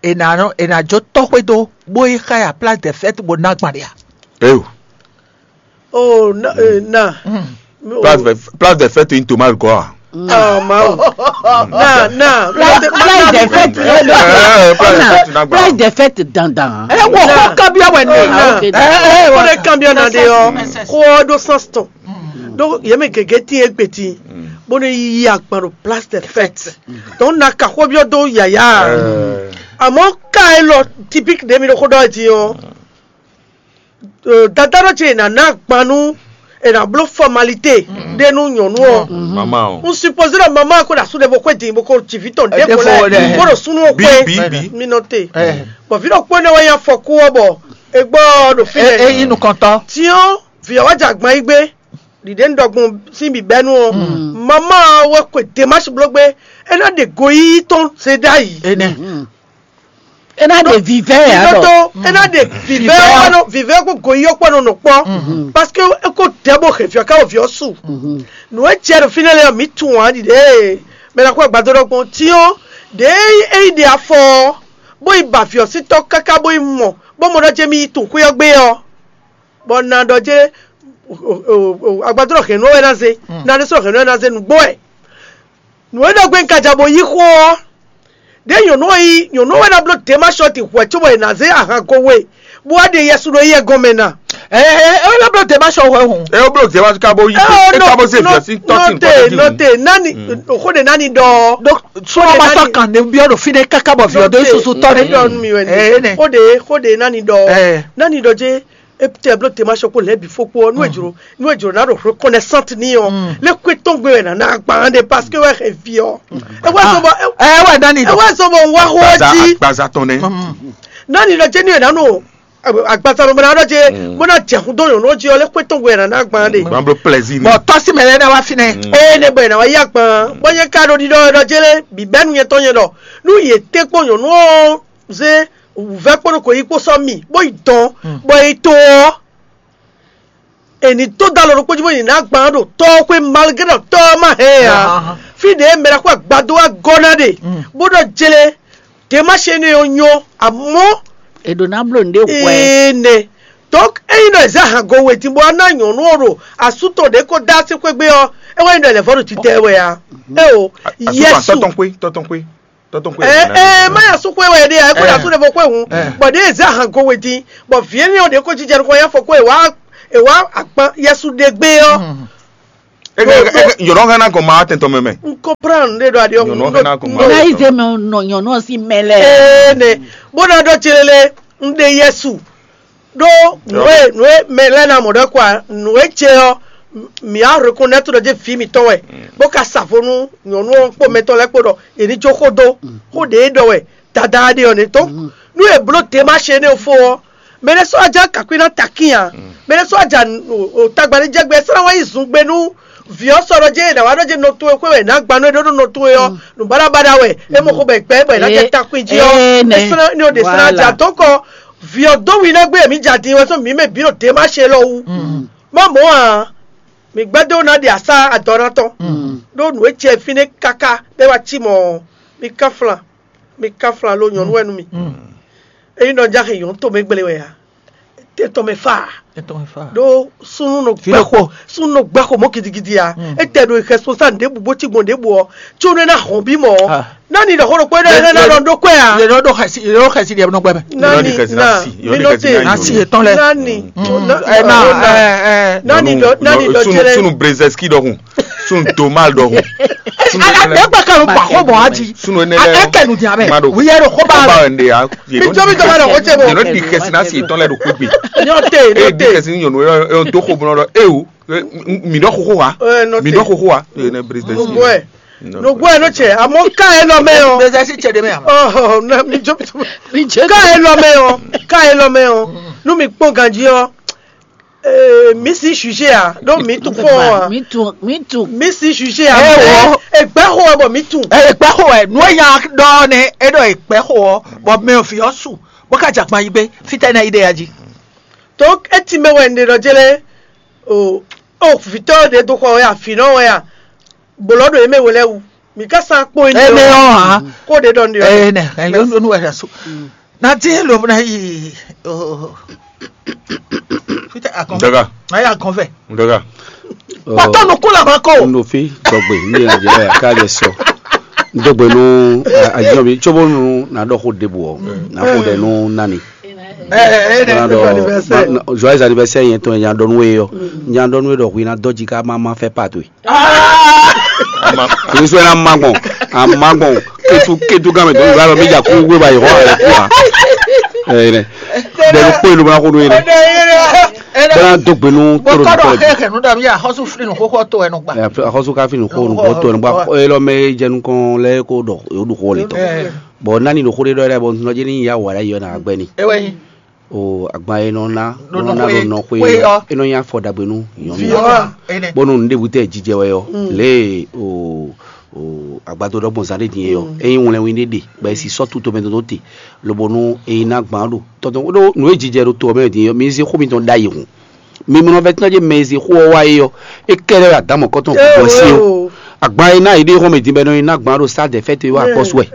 è nǎ nɔ è nǎ jó tɔ́ xwédo bó yi xá ya place de fête bó ná gban ɖe a? Eyo. Oh, na, eh, na. Place de place de fête in tomate quoi. Ah, Mawu. Na, na. Place de fête. Eh, place de fête na gba. Place de fête dandan. Ɛ wɔ xɔ kabiya wɛ ne. Ɛ wɔ ne kabiya na de yɔ. Xɔ do sans ton. Donc yɛ mɛ gɛgɛ ti egbe ti. Bó ne yi akpan ɖo place de fête. Donc na ka xɔ biɔ do yaya. Àmọ́ ká ẹ lọ typique de mi ɖo xó ɖɔ ɛ ti ɔ. Dada ɖɔ ce è nǎ ná agban nú è nǎ bló fɔmalité ɖé nú nyɔ̌nu ɔ́. Mama o. Un supposé ɖɔ mama ko ɖo asú ɖé bó xwé din bó ko jǐ vǐ tɔn ɖěvo lɛ́ɛ bó ɖo súnú ɔ́ xwé. Bí bí. Mi nɔ te. Bɔ vǐ ɖokpó énɛ́ wɛ nyí afɔkú ɔ́ bɔ è gbɔ ɔ́ ɖo fínɛ́. É nyí nukɔntɔ́. Tiɔ́n vǐ ɔ́ wá jɛ agban yí gbé. Ɖiɖe un ɖɔ gbɔn sín bǐbɛ́nu ɔ́, mama ɔ́ wɛ xwe demási bló gbé. É ná ɖe goyíyí tɔn se ɖ'ayǐ. Énɛ́. É ná ɖe vivɛ ɛ Ɖó alɔ. Tó é ná ɖe vivɛ ɔ́ kpɔ́ nɔ vivɛ ɔ́ kpó goyí ɔ́ kpɔ́ nɔ nɔ kpɔ́. Parce que é kó dɛ̌ bó hɛn vǐ ɔ́ ká wɔ vǐ ɔ́ su. Nǔ e jɛ ɖo fínɛ́ lɛ́ɛ ɔ́, mǐ tunwun ǎ ɖiɖe e mɛ ná kó agbadó ɖɔkpɔn cyɔ́n ɖě é yi ɖe afɔ ɔ́, bó yi ba vǐ ɔ́ sín tɔ́ káká bó yi mɔ bó mɔ ɖɔ jɛ mì yi tunwun xwé ɔ́ gbé ɔ́, bɔ na ɖɔ jɛ agbadó ɖɔ hɛ̌nnu ɔ́ wɛ ná zé, na ɖésú ɖɔ hɛ̌nnu ɔ́ wɛ ná zé nǔgbó wɛ. Nǔ e ɖɔ gbe un ka ja bó yí xó ɔ́, ɖěe nyɔ̌nu ɔ́ nyí nyɔ̌nu ɔ́ wɛ ná bló dě ma sɔ́ din hwɛ̌ cóbɔ è nǎ zé ahan go we, bó wá ɖe yɛsu ɖo yɛ gɔn mɛ ná. Ɛ ɛ ɛ ɛ ná bló dě ma sɔ́ hwɛ hǔn. É bló dě ma ka bó yí é ka bó zé vǐ ɔ́ sín tɔ́ sín nɔte tɔ́ nɔte nani xó ɖe nani ɖɔ ɔ́. Ɖó sɔ́ ma sɔ́ kan ne byɔ́ ɖo fínɛ́ káká bɔ vǐ ɔ́ dó susu tɔ́ nɛ. Ɖɔ nú mi wɛ ni xó ɖe xó ɖe nani ɖɔ ɔ́ nani ɖɔ jé. Epte blo te ma sɔkpo lɛ bi fokpo ɔ nu ejro nu ejro na ɖo reconnaissante ni ɔ le kwe tɔn gbe wɛ na na agban de parce que wɛ xɛ vi ɔ. Ewa sɔbɔ ɛ wɛ dani ewa sɔbɔ wa xɔ ji gbaza tɔn nɛ. Nani lɔ jɛ ni yɛ nanu agbaza bɔ na lɔ jɛ bɔ na jɛ kun dɔn yɔn lɔ ji ɔ le kwe tɔn gbe wɛ na na agban de. Gban blo plaisir ni. Bɔn tɔsi mɛ lɛ na wa fi nɛ. Ee ne bɔ yɛ na wa yi agban bɔ yɛ ka ɖo ɖiɖɔ lɔ jɛ le bi bɛnu yɛ tɔn yɛ dɔ nu yɛ te kpɔ yɔn nɔ ze wǔvɛ́ kpódó kò yí kpó sɔ́ mì bó yi dɔn bɔ è yi to ɔ́, è nǐ dó dó alɔ ɖokpó jí bó yi ná gban ɖo tɔ́ ɔ́ xwé malgré ɖɔ tɔ́ ɔ́ má hɛn ɛ ǎ. Fí ɖě mɛ ɖaxó agbadó wá gɔ́ ná ɖe bó ɖɔ jlé, dě má ṣe énɛ́ ɔ́ nyɔ́, amɔ̌ È ɖǒ ná bló nǔɖé hwɛ. Énɛ́. Donc ényí ɖɔ è zě ahan go we din bó wá ná nyɔ̌nu ɔ́ ɖo asú tɔn ɖě kó dó así xwé gbé ɔ́, é wɛ nyí ɖɔ è lɛ̌ vɔ́ ɖo títɛ́ wɛ ǎ. Éo, Yɛsu. Tɔ́tɔ́nxwé, tɔ́tɔ́nxwé. Ɛ ɛ má yà sún xwé wɛ ɖe ɛ kó yà sún ɖe bó xwé hùn bɔ ɖe zɛ ahan go we din bɔ vǐ énɛ́ ɔ́ ɖě kó jijɛ nukɔn yá fɔ kó è wá è wá akpan yɛsu ɖe gbé ɔ́. Eke eke yɔnɔ hɛn na kɔn ma tɛntɔ mɛ mɛ. N comprendre ɖe ɖo aɖi ɔhún. Yɔnɔ hɛn na kɔn ma. Na yi zé mɛ nɔ nyɔnu ɔ́ sín mɛ lɛ. Ee ne bó ná ɖɔ tsi lele n ɖe Yesu ɖó nǔ e nǔ e mɛ lɛ́ɛ ná mɔ ɖɔ kɔ a nǔ e ce ɔ́ mǐ á reconnaître ɖɔ jɛ vǐ mǐtɔn wɛ bó ka sa vo nú nyɔnu ɔ́ kpó mɛtɔn lɛ́ɛ kpó ɖɔ yě ní jó xó dó xó ɖě ɖɔ wɛ dada ɖe ɔ́ nɛ́ tɔn nú è bló démarche énɛ́ fó ɔ́ mɛ ɖé sɔ́ ajá kakwi ná takín ǎ mɛ ɖé sɔ́ ajá tagba ní jɛ gbɛ é sɔ́ ná wá yi zun gbe nú vǐ ɔ́ sɔ́ ɖɔ jɛ è nǎ wá ɖɔ jɛ nɔ towe xwé wɛ è nǎ gba nú é ɖó nú nɔ towe ɔ́ nǔbaɖabaɖa wɛ é mɔ xó bɔ è gbɛ bɔ è ná jɛ takui jí ɔ́ é sɔ́ ná ní ɔ ɖě sɔ́ ná jɛ adɔ̌kɔ vǐ ɔ́ dó wi ná gbé mǐ jɛ adin wɛ sɔ́ mǐ mɛ bǐ ɖo démarche élɔ́ wú má mɔ̌ ǎ mǐ gbɛ́ dó ná ɖi asá adɔ ná tɔn ɖó nǔ e jɛ fínɛ́ káká bɔ é wá cí mɔ̌ mǐ ká flan mǐ ká flan lo nyɔ̌nu wɛ nú mì ényí nɔ jáxe nyɔ̌nu tomɛ gblé wɛ a tɛtɔ mɛ fa ɖó súnú nɔ gbá xo súnú nɔ gbá xo mɔ gidigidi a etɛ ɖo xɛspo sa ɖěbǔ bó cí gbɔn ɖěbǔ ɔ tso nú ná hɔn bí mɔ nani ɖɔ xó ɖokpó ɖɔ ná ɖɔ ɖó kɔɛ a yɛ ɖɔ xɛsi yɛ ɖɔ xɛsi ɖe nɔ gbɛ mɛ nani na mi nɔ te nasi yɛ tɔn lɛ nani ɛ na ɛ ɛ nani ɖɔ nani ɖɔ jɛlɛ sunu brezɛski ɖɔkun sunu domal ɖɔkun sunu ala ne gbe kanu kpa xɔ mɔ aji sunu ne lɛ akɛ nu diya bɛ ma ɖo wiyɛ ɖo xɔ ba xɔ ba wɛ nde ya mi jɔ mi jɔ ma ɖɔ xɔ cɛ bɔ yɛrɛ di xɛsi na si tɔn lɛ ɖo kpekpe nyɔ te e nyɔ di te xɛsi ni nyɔnu yɔ do xɔ bɔnɔ lɔ e o mi ɖɔ xoxo wa mi ɖɔ xoxo wa ne brezɛski nugbo ɛ nugbo ɛ no cɛ amɔ ka ɛ lɔ mɛ o brezɛski cɛ de mɛ amɔ ɔhɔ na mi jɔ mi jɔ ka ɛ lɔ mɛ o ka ɛ lɔ mɛ o nu mi kpɔn ganji ɔ ee mi si sujet a ɖo mi tun fɔ a mi tun mi tun mi si sujet a Ɛ wɔ. Egbe xo ɛ bɔ mi tun ɛ gba xo ɛ nu enya dɔ ne e dɔ egbe xo ɔ bɔ mɛ fi ɔ su bɔ ka jagban yi gbe fitɛ na yi de ya ji. Donc eti mɛ wɛ ne ɖɔ jɛ lɛ o o vitɔ ɖe do xɔ wɛ a finɔ wɛ a gbolɔ ɖo eme wɛ lɛ wu mi ka sa kpɔn yi Ene ɔ ha. Ko ɖe ɖɔ ne ɔ Ene ɛ nu ɛ su. Na ti lo na yi o. Fitɛ akɔn. Daga. Na yi akɔn fɛ. Daga. Pɔtɔ nu kula ma ko. N ɖo fi dɔgbe ní yẹn jẹ ya ká jẹ sɔ. Dɔgbe nu ajɔ mi tsobo nu na dɔ ko debu ɔ na ko dɛ nu nani. Ɛ ɛ ɛ Joyeux anniversaire yẹn tɔn yẹn nya dɔnu ye yɔ nya dɔnu ye dɔ hui na dɔji ká ma ma fɛ pa to ye. Kìí sɔn yẹn na ma gbɔn a ma gbɔn ketu ketu gan mi dɔnu yàrá mi jà kú wé ba yìí hɔn ɛ kú wa. Ɛ yẹn dɛ dɛ kpó yìí ló bá kó nu yẹn dɛ. Bọ́lá dɔgbe nu tóró bɔkɔdɔ dɔgbe. Xexe nu dɔ mi axɔsu fili nu xóxó to ɛnu gba. Axɔsu ká fili nu xó nu bɔ to ɛnu gba. Elɔ mɛ jɛnu kɔn lɛ kó dɔ yóò du xó le tɔ. Bɔn nani ɖo xó ɖé ɖɔ yɛ bɔ nɔ jɛ ní ya wà ɖe yɔ na agbɛ ni. Ewɛ yi. O agban e nɔ na Ɖo nɔ na nɔ ɖo xwe. Nɔ xwe Xwe yɔ. E nɔ nya fɔ dagbe nu nyɔnu. Viɔ. Ene. Bɔnu nu ɖebu tɛ jijɛ wɛ yɔ le o o agbado ɖɔ gbɔn zan ɖe din yɔ eyin wlɛn wi ɖe ɖe bɛ si sɔ tu tomɛ dodo te lobo nu eyin na gban ɖo tɔtɔ ɖo nu e jijɛ ɖo to mɛ din yɔ mi ze xó mi tɔn ɖa yi hun. Mi mlɔ vɛ tɔn jɛ mɛ e ze xó ɔ wa yi yɔ e kɛ lɛ adamɔ kɔtɔn gbɔ si o. Agban e na yi ɖe xɔmɛ din bɛ nɔ yi na gban ɖo sa dɛ fɛte wa akpɔsu wɛ.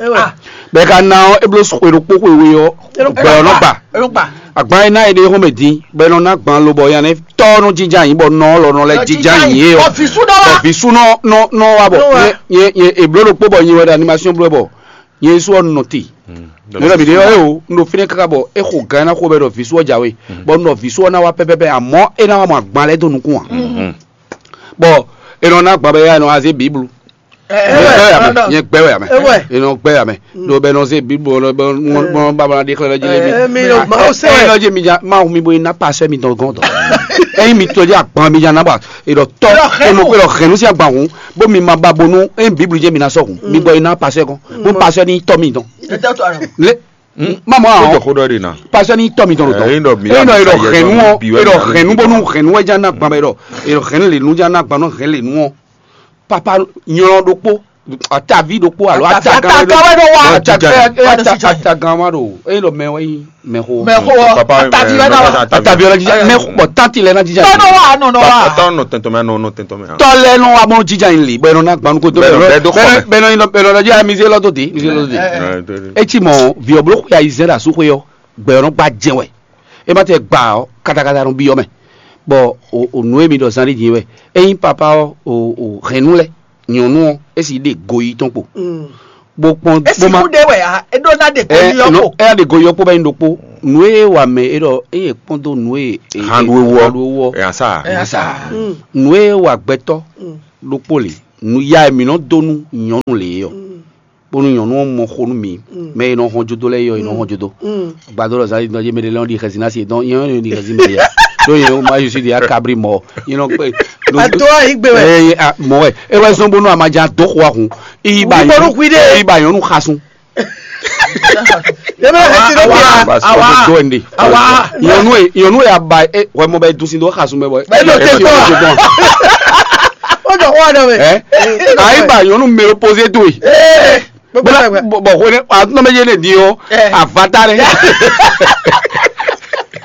Bɛ ka na ɔ eblo xwe ɖokpo xwe we ɔ gbɛ ɔ nɔ gba. Agban e na yi ɖe xɔmɛ din bɛ nɔ na gban lobɔ yan ne tɔ nɔ jinja yin bɔ nɔ lɔ nɔ lɛ jinja yin ye ɔ. Bɔ visu nɔ nɔ nɔ wa bɔ ye ye eblo ɖokpo bɔ yin wɛ ɖe animation blo bɔ yin su ɔ nɔ te. Nɔ mi ɖe ɔ e o n ɖo fínɛ kaka bɔ e xo gan na xo bɛ ɖɔ visu ɔ jawe bɔ n ɖɔ visu ɔ na wa pɛpɛpɛ amɔ e na wa mɔ agban lɛ do nukun a. Bɔ e nɔ na gban bɛ ya e nɔ aze biblu. Nyɛ gbɛ wɛ amɛ, nyɛ gbɛ wɛ amɛ. E nɔ gbɛ amɛ. Ɖo bɛ nɔ se biblu bɔ bɔ bɔ bɔ de xlɛ lɔ dzi lɛ mi. Mi lɔ ma o se. E nɔ dzi mi dza ma mi bo na pasɛ mi dɔn gɔn dɔn. Eyi mi tɔ dzi agban mi dza na ba e dɔ tɔ e mo pe dɔ hɛn nu si agban hun bo mi ma ba bonu e biblu dzi mi na sɔ hun mi bɔ e na pasɛ kɔn bo pasɛ ni tɔ mi dɔn. Le Mamu Ó ahɔn jɔ xó ɖɔ ɖe ná. Pasɔ ní tɔmì tɔn Ɛ, lotɔ. Eyín ɖɔ mi Eyín ɖɔ yà erɔ mi hɛnu yà ɔ mi erɔ hɛnu bónú hɛnu wɛ já ná gban bɛ ɖɔ erɔ hɛnu lè nu já ná gban nɔ hɛn lè nu ɔ. Papa nyɔlɔ ɖokpo atavi ɖokpo alo Atavi ataga wɛ ɖo wa. Ataga wɛ ɖo sijɔ. Ataga wa ɖo eyín ɖɔ mɛ wɛ nyi mɛ xo. Mɛ xo ɔ Papa, atavi wɛ ná wa. Atavi wɛ ná jija mɛ bɔ tanti lɛ ná jija. Tɔnɔ wa nɔnɔ wa. Tɔnɔ tɛntɔn mɛ nɔ tɛntɔn mɛ. Tɔ lɛ nɔ wa bɔ jija yin li bɔ ɛnɔ ná gbanu ko to Bɛ nɔ bɛ do xɔ mɛ. Bɛ nɔ yin bɛ nɔ jija mi se lɔ to te mi se lɔ to te. Ɛ, ɛ, ɛ. Etsi mɔ viɔ blo xɔ ya yi zɛ ɖe asu xɔ yɔ gbɛ ɔnɔ gba jɛ wɛ e ma tɛ gba ɔ katakata nɔ bi ɔ mɛ bɔ o o nu emi ɖɔ zan ɖi din wɛ eyin papa ɔ o o hɛn nu lɛ nyɔnu ɔ esi ɖe go yi tɔn kpo bo kpɔn Esi bo ma ku ɖe wɛ a e ɖo na ɖe ko ɛ yi ɔ no ko. Ɛ ɖe go yi ɔ kpo bɛ yin ɖokpo nu e wa mɛ e ɖɔ eye kpɔn do nu e e- Hanɖu ewu ɔ. Hanɖu ewu ɔ Ɛ asa. Ɛ asa. Nu e wa gbɛtɔ ɖokpó lě, nu ya e mǐ nɔ dó nú nyɔ̌nu lě é ɔ́, bónú nyɔ̌nu ɔ́ mɔ xo nú mǐ. Mɛ e nɔ hɔn jodo lɛ́ɛ é ɔ́, è nɔ hɔn jodo. Gbadó ɖɔ zǎn é ɖɔ mɛ ɖé lɛ́ɛ nɔ ɖi xɛsinasi, dɔn nyɛ nɔ ɖi xɛsi mɛ ɖé. Ɖó nyɛ ma yusí ɖi akabri mɔ. Nyɛ nɔ kpe. Ato ayi gbe wɛ. Eye a mɔ wɛ. E wɛ zɔn bónú a ma jɛ adó xo ahun. Iba Wíbɔnú nyɔnu. Xwi ɖe. Iba nyɔnu xasun. Yɛmɛ lɛ ti dɔ bia. Awa. Awa. Nyɔnu e nyɔnu e aba e wɛ mɔ bɛ dusi do xasun bɛ bɔ. Bɛ do te tɔ. O dɔ xɔ dɔ mɛ. Ɛ ayi ba nyɔnu mɛ posé to yi. Ee. Gbogbo la gbɛ. Bɔn bɔn ko ne a tún bɛ yé ne di o. Ɛ. Avata ne.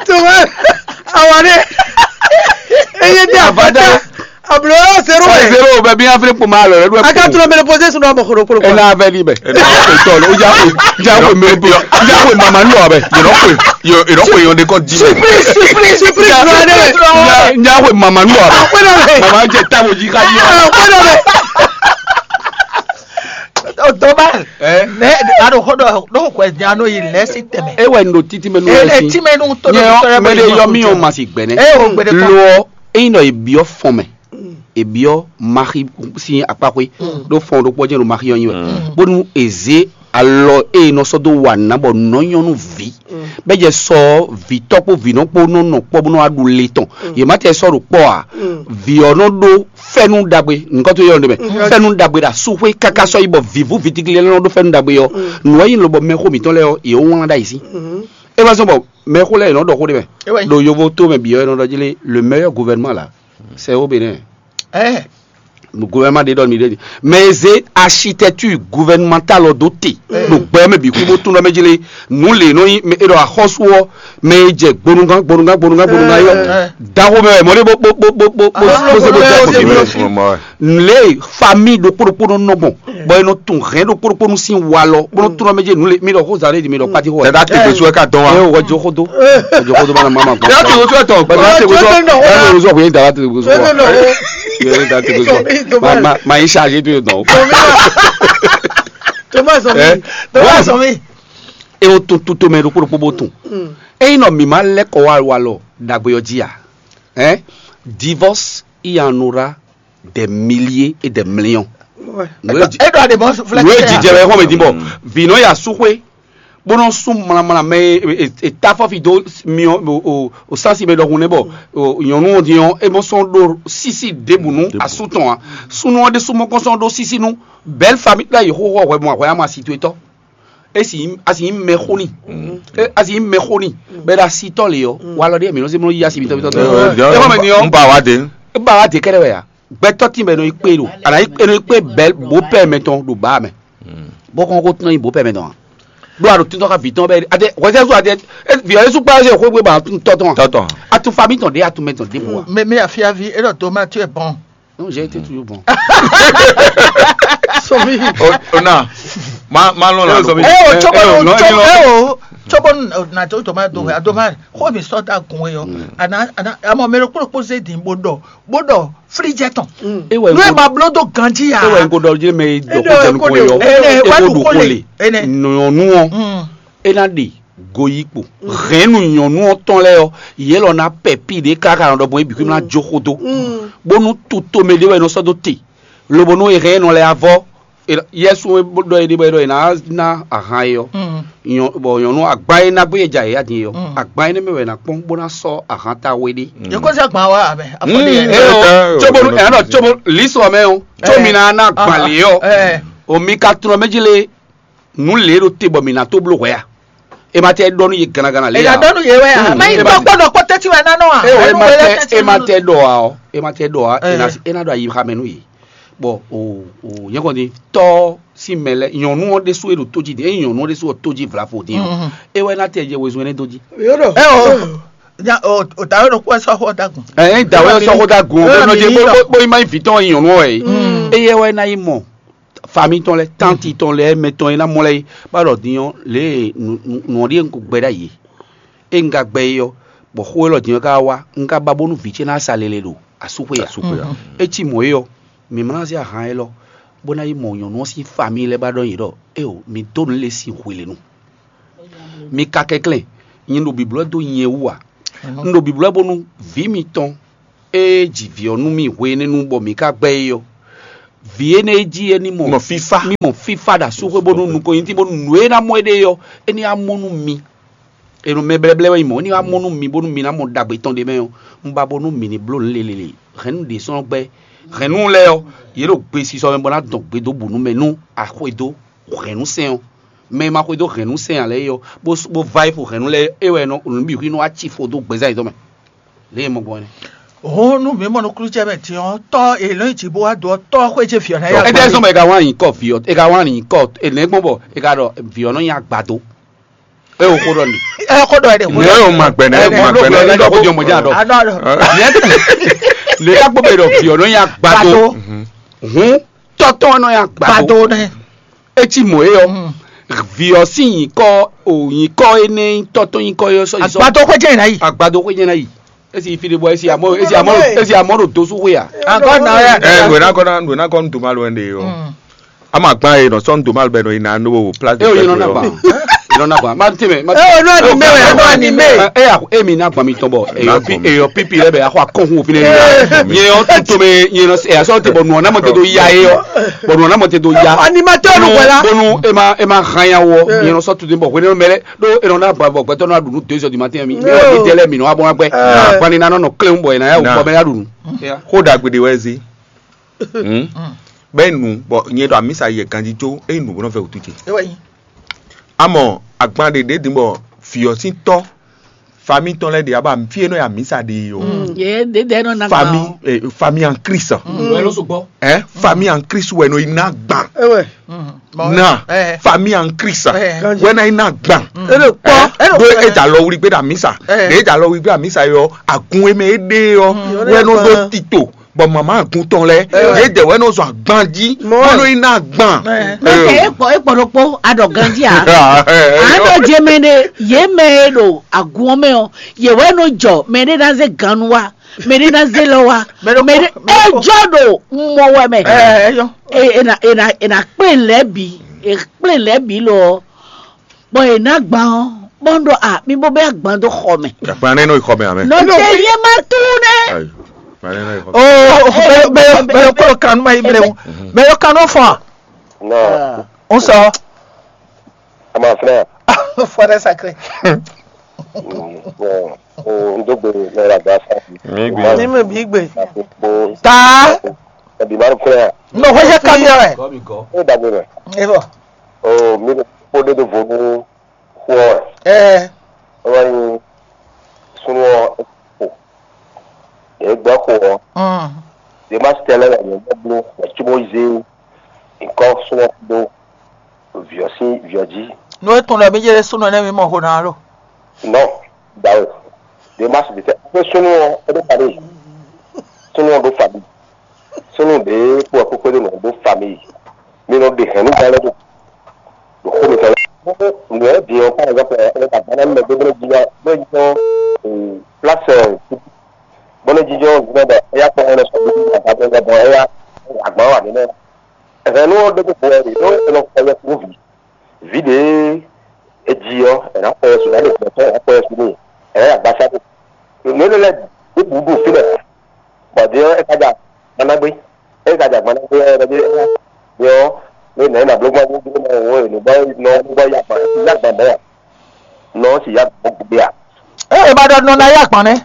Tuma awa ne. Eye di avata. Ablo zero Ɔ wɛ. zero bɛ bi afiri kpoma lɔ ɛdu. A ka tún bɛ posé sunu abɔ koro koro. Ena avɛ di bɛ. Etɔ lɔ o ja ko ja ko mɛ bi ja ko mama nu abɛ. Yɔrɔ ko yɔ yɔrɔ ko yɔ de kɔ di. Surprise surprise surprise. Surprise. Ja ko mama nu abɛ. Akwai na bɛ. Mama jɛ tabo ji ka yi. Akwai na bɛ. Dɔba Ɛ ne aɖo xɔ ɖɔ ɖo xɔ nya nɔ yi lɛ si tɛmɛ. e wɛ ndo titi mɛ nu Ele lɛ si. ti mɛ nu to Nyɛ ɖo yɔ tɔrɛ mɛ de yɔ mi yɔ ma si gbɛnɛ. E o gbede kɔ. Lɔ eyin nɔ ebiɔ fɔn mɛ, ebiɔ maxi si akpaxwe ɖo fɔn ɖo kpɔjɛ ɖo maxi yɔ nyi wɛ bónú eze alɔ eye nɔ sɔ do wa nǎ bɔ nɔ nyɔnu vi bɛ jɛ sɔ vitɔ kpo vinɔ kpo nɔ nɔ kpɔ bónú aɖu le tɔn yě ma tɛ sɔ ɖo kpɔ a vi ɔ nɔ ɖo fɛnu ɖagbe nukɔtɔ yɔ ɖe mɛ fɛnu ɖagbe ɖa suxwe kaka sɔ yi bɔ vivu vitigli lɛ nɔ ɖo fɛnu ɖagbe yɔ nua yi lɔ bɔ mɛxo mitɔn lɛ yɔ yě wlán ɖa yi si e ma sɔ bɔ mɛxo lɛ yě nɔ ɖɔ xó ɖe mɛ Ewe. Ɖo yovo to mɛ bi yɔ yɛ nɔ ɖɔ jí lé le meilleur gouvernement la c'est au Bénin. Ɛ Gouvernement ɖe ɖɔ mi ɖe di mais eze architecture gouvernementale ɔ do te ɖo gbɛ mɛ bi kú bó tún ɖɔ mɛ jí lé nu le nɔ yi e ɖɔ axɔsu ɔ mɛ e jɛ gbonugán gbonugán gbonugán gbonugán yɔ daxo mɛ mɔ ɖe bó bó bó bó bó bó bó se bó jɛ kɔmi le famille ɖokpó ɖokpó nɔ nɔ gbɔn bɔn e nɔ tun hɛn ɖokpó ɖokpó nu sin wa lɔ bó nɔ tún ɖɔ mɛ jí nu le mi ɖɔ xó zan ɖe di mi ɖɔ kpati xó Tɛda te gbèsè ka dɔn wa. ɛ wɔ jɔ xó do wɔ jɔ xó do bana mama gbɔn. Tɛda te gbèsè tɔn. Bàtà tèkó sọ bàtà tèkó sọ bàtà tèkó sọ Tèkó sọ. bàtà tèkó sọ ma ma ma yi chargé tó yẹ dɔn. Thomas on Ɛ? me. Thomas on me. E o tun tuto mɛ ɖokpó ɖokpó bó tun. Eyi nɔ mi ma lɛ kɔ wa wa lɔ dagbe yɔ dzi a. Ɛ divorce il y en aura des milliers et des millions. Ouais. Nue dzi E ɖo ade bɔ flɛ. nue dzi jɛ wɛ xɔmɛ di bɔ. Vinɔ ya su xwe. Bónɔ sún mlamla mɛ e ta fɔfi dó miɔ o o o sansi mɛ ɖɔhun nɛ bɔ o nyɔnu ɔ́ din ɔ́ é mɔ sɔn ɖó sisi ɖěbǔ nú asú tɔn a súnú ɔ́ ɖésú mɔ kɔn sɔn ɖó sisi nú belle famille la yi xóxó hwɛ mɔ hwɛ ama situé tɔ esi asi mɛ xóni asi mɛ xóni bɛ ɖo asitɔ le ɔ walɔ ɖe mi nɔ se mɔ yi asi mi tɔ mi tɔ tɔ N ba wa de. Ba wa de kɛɖɛ wɛ ya gbɛtɔ ti mɛ nɔ yi kpe ɖo ana yi nɔ yi kpe belle beau-père mɛ tɔn ɖo ba mɛ bɔ kɔn ko tɔn yi beau-père mɛ tɔn a ɖo a ɖo tɔn ka vi tɔn bɛ ade wɛsɛ so ade vi ɔ yesu kpa se xwegbe ba tɔn tɔn Tɔtɔ. Atu famille tɔn de atu mɛ tɔn de bo wa Mais mais afia vi e ɖɔ Thomas tu es bon. Non, j'ai été toujours bon. Somi. O na. Ma ma lɔn la. Somi. E o Eh, tsobo eh, o non, tsobo non. E o tsobo na to to ma do a do ma ko mi sɔ da kun e o ana ana amo mero kpolo kpo se din bo dɔ bo dɔ fridge tɔn. E wɛ N'o n ye ko ma blo do ganji ya. e wɛ n ko dɔ je mɛ dɔ Eɖɔ ko tɛnu ko ko de. yɔ. Ene E wa ko du do ko ko le. le. Ene. Nyɔnu ɔ. E na de goyikpo hɛnnu nyɔnu ɔ tɔn lɛ ɔ yelɔ na pɛpi de kaka nɔ dɔ bɔ ebi kún na jo xo do. Bonu tuto mɛ de wɛ nɔ sɔ do te. Lobo nɔ ehɛn nɔ lɛ avɔ. Yesu ɖɔ yi de bɔ e ɖɔ yi na na ahan yi ɔ. Nyɔ bɔ nyɔnu agban yi na gbé ja yi adin yi ɔ. Agban yi ne mɛ wɛ na kpɔn bo na sɔ ahan ta we de. Yeko se gban wa abɛ. Afɔ de E yɛ. o tsobo ɛnɔ tsobo lisɔ mɛ o tso mi na na gban le ɔ. Eh. O mi ka trɔ mɛ ji le nu le ɖo te bɔ mi na to blo hwɛ a. E ma tɛ ɖɔ nu ye ganagana le Eya ya. Dɔnu ye wɛ ya. Mɛ yi tɔ kpɔ dɔ kpɔ tɛti wɛ nanɔ wa. E o e Enu ma wɛ lɛ tɛ tɛti e ma nanɔ. Tɛ ɖɔ a ɔ e ma tɛ ɖɔ a e na Eh. e na ɖɔ ayi ha mɛ nu ye. Bɔn o o yɛ kɔni tɔ si mɛ lɛ nyɔnu ɔ ɖesu e ɖo to ji di e nyɔnu ɔ ɖesu ɔ to ji vla fo di ɔ e wɛ na tɛ jɛ wezun ne do ji. Yo do. Ɛ o. Nya o o ta yɔrɔ kó ɛsɛ xɔ dagun. Ɛ ɛ dawe sɔ ko da gun Eh, bɛ nɔ je mi bo yɔ. bo bo ma yi vitɔ nyɔnu ɔ ye. E yɛ wɛ na yi mɔ fami tɔn lɛ tanti tɔn lɛ mɛ tɔn ye na mɔ lɛ ye ba ɖɔ di ɔ le nu nu ɔ ɖi ko gbɛ ɖa ye. E n ka gbɛ yi ɔ bɔ xo elɔ di ɔ ka wa n ka ba bonu vi ce na sa lele ɖo asuxwe ya. Asuxwe ya. E ci mɔ ye ɔ mi ma na se ahan elɔ bo na yi mɔ nyɔnu ɔ si fami lɛ ba ɖɔ yi ɖɔ e o mi do nu le si hwelenu. Mi ka kɛnklɛn nyi ɖo biblɔ do nyɛ wú a? Un ɖo biblɔ bonu vi mitɔn e ji vǐ ɔ nú mì hwenɛ́nu bɔ mǐ ka gbɛ́ é ɔ́, Vǐ énɛ́ e jí é ní mɔ Mɔ fífá. Ní mɔ fífá ɖo asúxwé bónú nukɔn nyi tí bónú nǔ e ná mɔ éɖée ɔ́, é ní wá mɔ nú mi. È nɔ mɛ blɛ́blɛ́ wɛ nyí mɔ̌, é ní wá mɔ nú mi bónú mi ná mɔ ɖagbe tɔn ɖ'é mɛ ɔ́. Un ba bónú mǐ ní bló nǔ lélele. Hɛ̌nnu ɖě sɔ́ gbɛ́. Hɛ̌nnu lɛ́ɛ ɔ́, yě ɖo gbesisɔ mɛ bó ná dɔn gbe dó bǔ nú mɛ nú a xwedó hɛ̌nnu sɛn ɔ́. Mɛ e ma xwedó hɛ̌nnu sɛn ǎ lɛ́ɛ é ɔ́, bó s- bó vá yi xo hɛ̌nnu lɛ́ɛ é wɛ nɔ nǔ bǐ xwí nɔ wá ci fo dó gbɛzán yětɔn mɛ. Lě e mɔ gbɔn é nɛ́. Hǔn nú mǐ mɔ nukúnnú ce mɛ din ɔ́, tɔ́ e lɔ̌n yi jǐ bó wá do ɔ́, tɔ́ xwé jɛ vǐ ɔ́ ná yá. Ɛ dɛ sɔn bɔ e ka wá nyi kɔ vǐ ɔ́, e ka wá nyi kɔ enɛ gbɔn bɔ e ka ɖɔ vǐ ɔ́ nɔ nyi agbado. E o xó ɖɔ ni. Ɛ xó ɖɔ ɛ ɖe. Nɛ o ma gbɛ nɛ, o ma gbɛ nɛ. Ɛ ɖɔ ko jɔ mɔ jɛ adɔ. Adɔ adɔ. Lè ka gbɔ bɛ ɖɔ vǐ ɔ́ nɔ nyi agbado. Hǔn tɔtɔ nɔ nyi agbado. Gbado nɛ. Etí mɔ e ɔ. Vǐ ɔ́ sín nyǐkɔ o nyǐkɔ énɛ́ nyí tɔtɔn nyǐkɔ e ɔ sɔ yi sɔ. Agbado xwé jẹ́ ìnáyì. Agbado xwé jẹ́ ìnáyì. Esi fi ɖe bɔ esi amɔ esi amɔ esi amɔ ɖo dosu xwe a. Ankɔ na ya. Ɛ nwe na kɔ na nwe na kɔ nu doma lɔ ɛn de o. Ama gban ye nɔ sɔn doma bɛ nɔ ina no place de. E o yinɔ na gban. Yinɔ na gban ma te mɛ ma te. E o nɔ ni mɛ wɛ nɔ ni mɛ. E ya e mi na gban mi tɔn bɔ eyɔ pi eyɔ pipi lɛ bɛ akɔ akɔnkun òfin ne ya. Nyɛ yɔ tuntun mi nyɛ nɔ ɛ asɔ te bɔ nɔ na mɔ te do ya ye yɔ. Bɔ nɔ na mɔ te do ya. Animateur nu wɛ la. Bonu e ma e ma hanya wɔ nyɛ nɔ sɔ tuntun bɔ hwene mɛ lɛ. Ɖó e nɔ na ba bɔ gbɛtɔ nɔ ɖu nu deux heures du matin mi mi ɔ mi dɛ lɛ mi nɔ abɔ na gbɛ. Agbani na nɔ nɔ kle bɔ yina ya wɔ bɛ ya ɖu nu. Xó ɖagbe ɖe wɛ zi. Bɛ nu bɔ nyɛ ɖo amisa yɛ ganji tso e nu bɔ nɔ fɛ wutu ce. Amɔ agban ɖe ɖe din bɔ fiɔ sin tɔ fami tɔn lɛ ɖe aba fi e nɔ ya misa ɖe o. Ye ɖe ɖe nɔ na fami gban o. Eh, fami en Christ. Wɛ ló so gbɔ. Hein? Fami en Christ wɛ no ina gban. Ewe. Na Eh. Fami en Christ. Eh. Wɛ na ina gban. Elo kpɔ. Elo do kpɔ. Eja lɔ wuli gbe da misa. Eh. De eja lɔ wuli gbe da misa yɔ agun eme ede yɔ. Wɛ no do tito. Bɔ mama agun tɔn lɛ. Eh. Ye de wɛ no zɔ agban ji. Mɔ. Wɛ no ina gban. Eh. Mɛ tɛ ekpɔ ekpɔ ɖokpo aɖɔ ganji a. Aɖɔ jɛ mɛ ɖe ye mɛ e ɖo agun ɔ́ mɛ ɔ ye wɛ nɔ jɔ mɛ ɖe ná zé ganu wa mɛ ɖe ná zé lɔ wa mɛ ɖe ejɔ ɖo mɔ wɛ mɛ. Ena ena ena kplé lɛ bi e kplé lɛ bi lɔ bɔn e ná gban ɔ bɔn ɖɔ a mi bó bɛ agban dó xɔ mɛ. Agban nɛ nɔ yi xɔ mɛ amɛ. Nɔ tɛ yɛ ma tu nɛ. Ayi, agban nɛ nɔ yi xɔ mɛ. Oh, bɛ bɛ bɛ kɔlɔ kanu ma yi bɛ o bɛ yɔ kanu fɔ. Non. On sɔ. Ama frère. Frère sacré. Bon, n dó gbe lọ la gba sa. Mi gbe. Ní mi bí gbé. Bon. Ta. Ebi ma kúrẹ́. Nɔ hwéjɛ kamiɔ rɛ. Ó dàgbé rẹ̀. E bɔ. O mi kó dé do vo nú xó ɔ́. Ɛ. Ó wá nyi súnú ɔ́ kó. Yě gbɛ́ xó ɔ́. Yě má tɛ lɛ́ wɛ yě gbɛ́ bló wɛ cí bó zé nyǐkɔ súnú ɔ́ dó vǐ ɔ́ sín vǐ ɔ́ jí. Nú é tunwun ɖɔ mí jɛ súnɔ nɛ́ mí mɔ xo ná lo. Nɔ, dǎwe. Ɖě ma sixú tɛ xwé súnnu ɔ́ é ɖó famíyi. Súnnu ɔ́ ɖó famíyi. Súnnu ɖě kpó ɔ́ kpókpé ɖó nǔ ɔ́ ɖó famíyi. Mi nɔ ɖe hɛ̌nnu gán lɛ́ɛ ɖo ɖo xó mitɔn lɛ́ɛ. Nǔ ɔ́ din ɔ́, par exemple, ɛ ɛ agban ná mɛ dó bó jí wá bó jí tɔn pláse bó ná jí jɔ ví nɔ bɔ é yá kpɔ́n ɔ́ nɔ sɔ́ bó jí agban tɔn bɔ é yá agban wà mí nɛ. Hɛ̌nnu ɔ́ ɖé kó vo wɛ ɖě ɖó è nɔ xɔ yɛkúnví. Vǐ ɖě e ji ɔ́, è nǎ xɔ yɛsu, nǎ ɖe gbɛtɔ́, è nǎ xɔ yɛsu n'i, è nǎ yi agbasá ɖo. Nǔ énɛ́ lɛ́ɛ ɖěbǔ ɖo fínɛ́, bɔ din ɔ́, é ka ja gbanágbé. É ka ja gbanágbé ɔ́, é ɖɔ jí é ná din ɔ́, é nǎ yi nǎ bló gbɔn gbó gbó mɛ wǒ è nǔ bɔ nɔ gbó gbɔ yá gban yá gban mɔ̌ ǎ. Nɔ ɔ́ sì yá gban gbé ǎ. Ée è ma ɖɔ nɔ ná yá gbɔn nɛ́.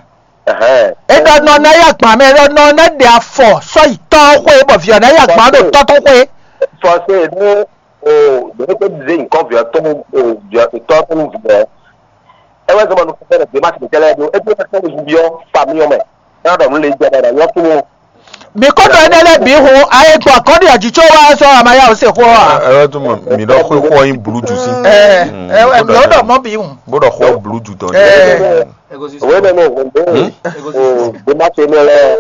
Ɛhɛn. É ɖɔ nɔ ná yá gbɔn mɛ, é ɖɔ nɔ ná ɖe afɔ sɔ́ yi tɔ́ xwé bɔ vǐ ɔ́ ná yá gbɔn ɖo tɔ́ tɔn xwé. Fɔse ɖó o ɖě é zé nyǐkɔ vǐ ɔ́ tɔn o vǐ ɔ́ tɔ́ tɔn nú vǐ ɔ́. É wɛ zɔ́n ma nukún fɛ́nɛ gbě ma tɛtɛ lɛ́ɛ ɖó é gbé fɛ́nɛ zunbí ɔ́ famí ɔ́ mɛ. É wá ɖɔ nǔ lě jɛ ɖɔ ɖɔ yɔ́ fún wọn. Mi kó ɖɔ énɛ́ lɛ́ɛ bǐ hu ayé gbɔn kɔ́ ɖi ɔ̀jì có wá sɔ́ amayá ò se xó ɔ́ ǎ. Ɛ ɛ tún mɔ mi ɖɔ xó xó yin blu jù sí. Ɛ ɛ ɛ ló ɖɔ mɔ bǐ hu. Bó ɖɔ xó blu jù tɔn. Ɛ. Òwe nínú ògùn dé o gbé má ṣe ní ọlẹ́.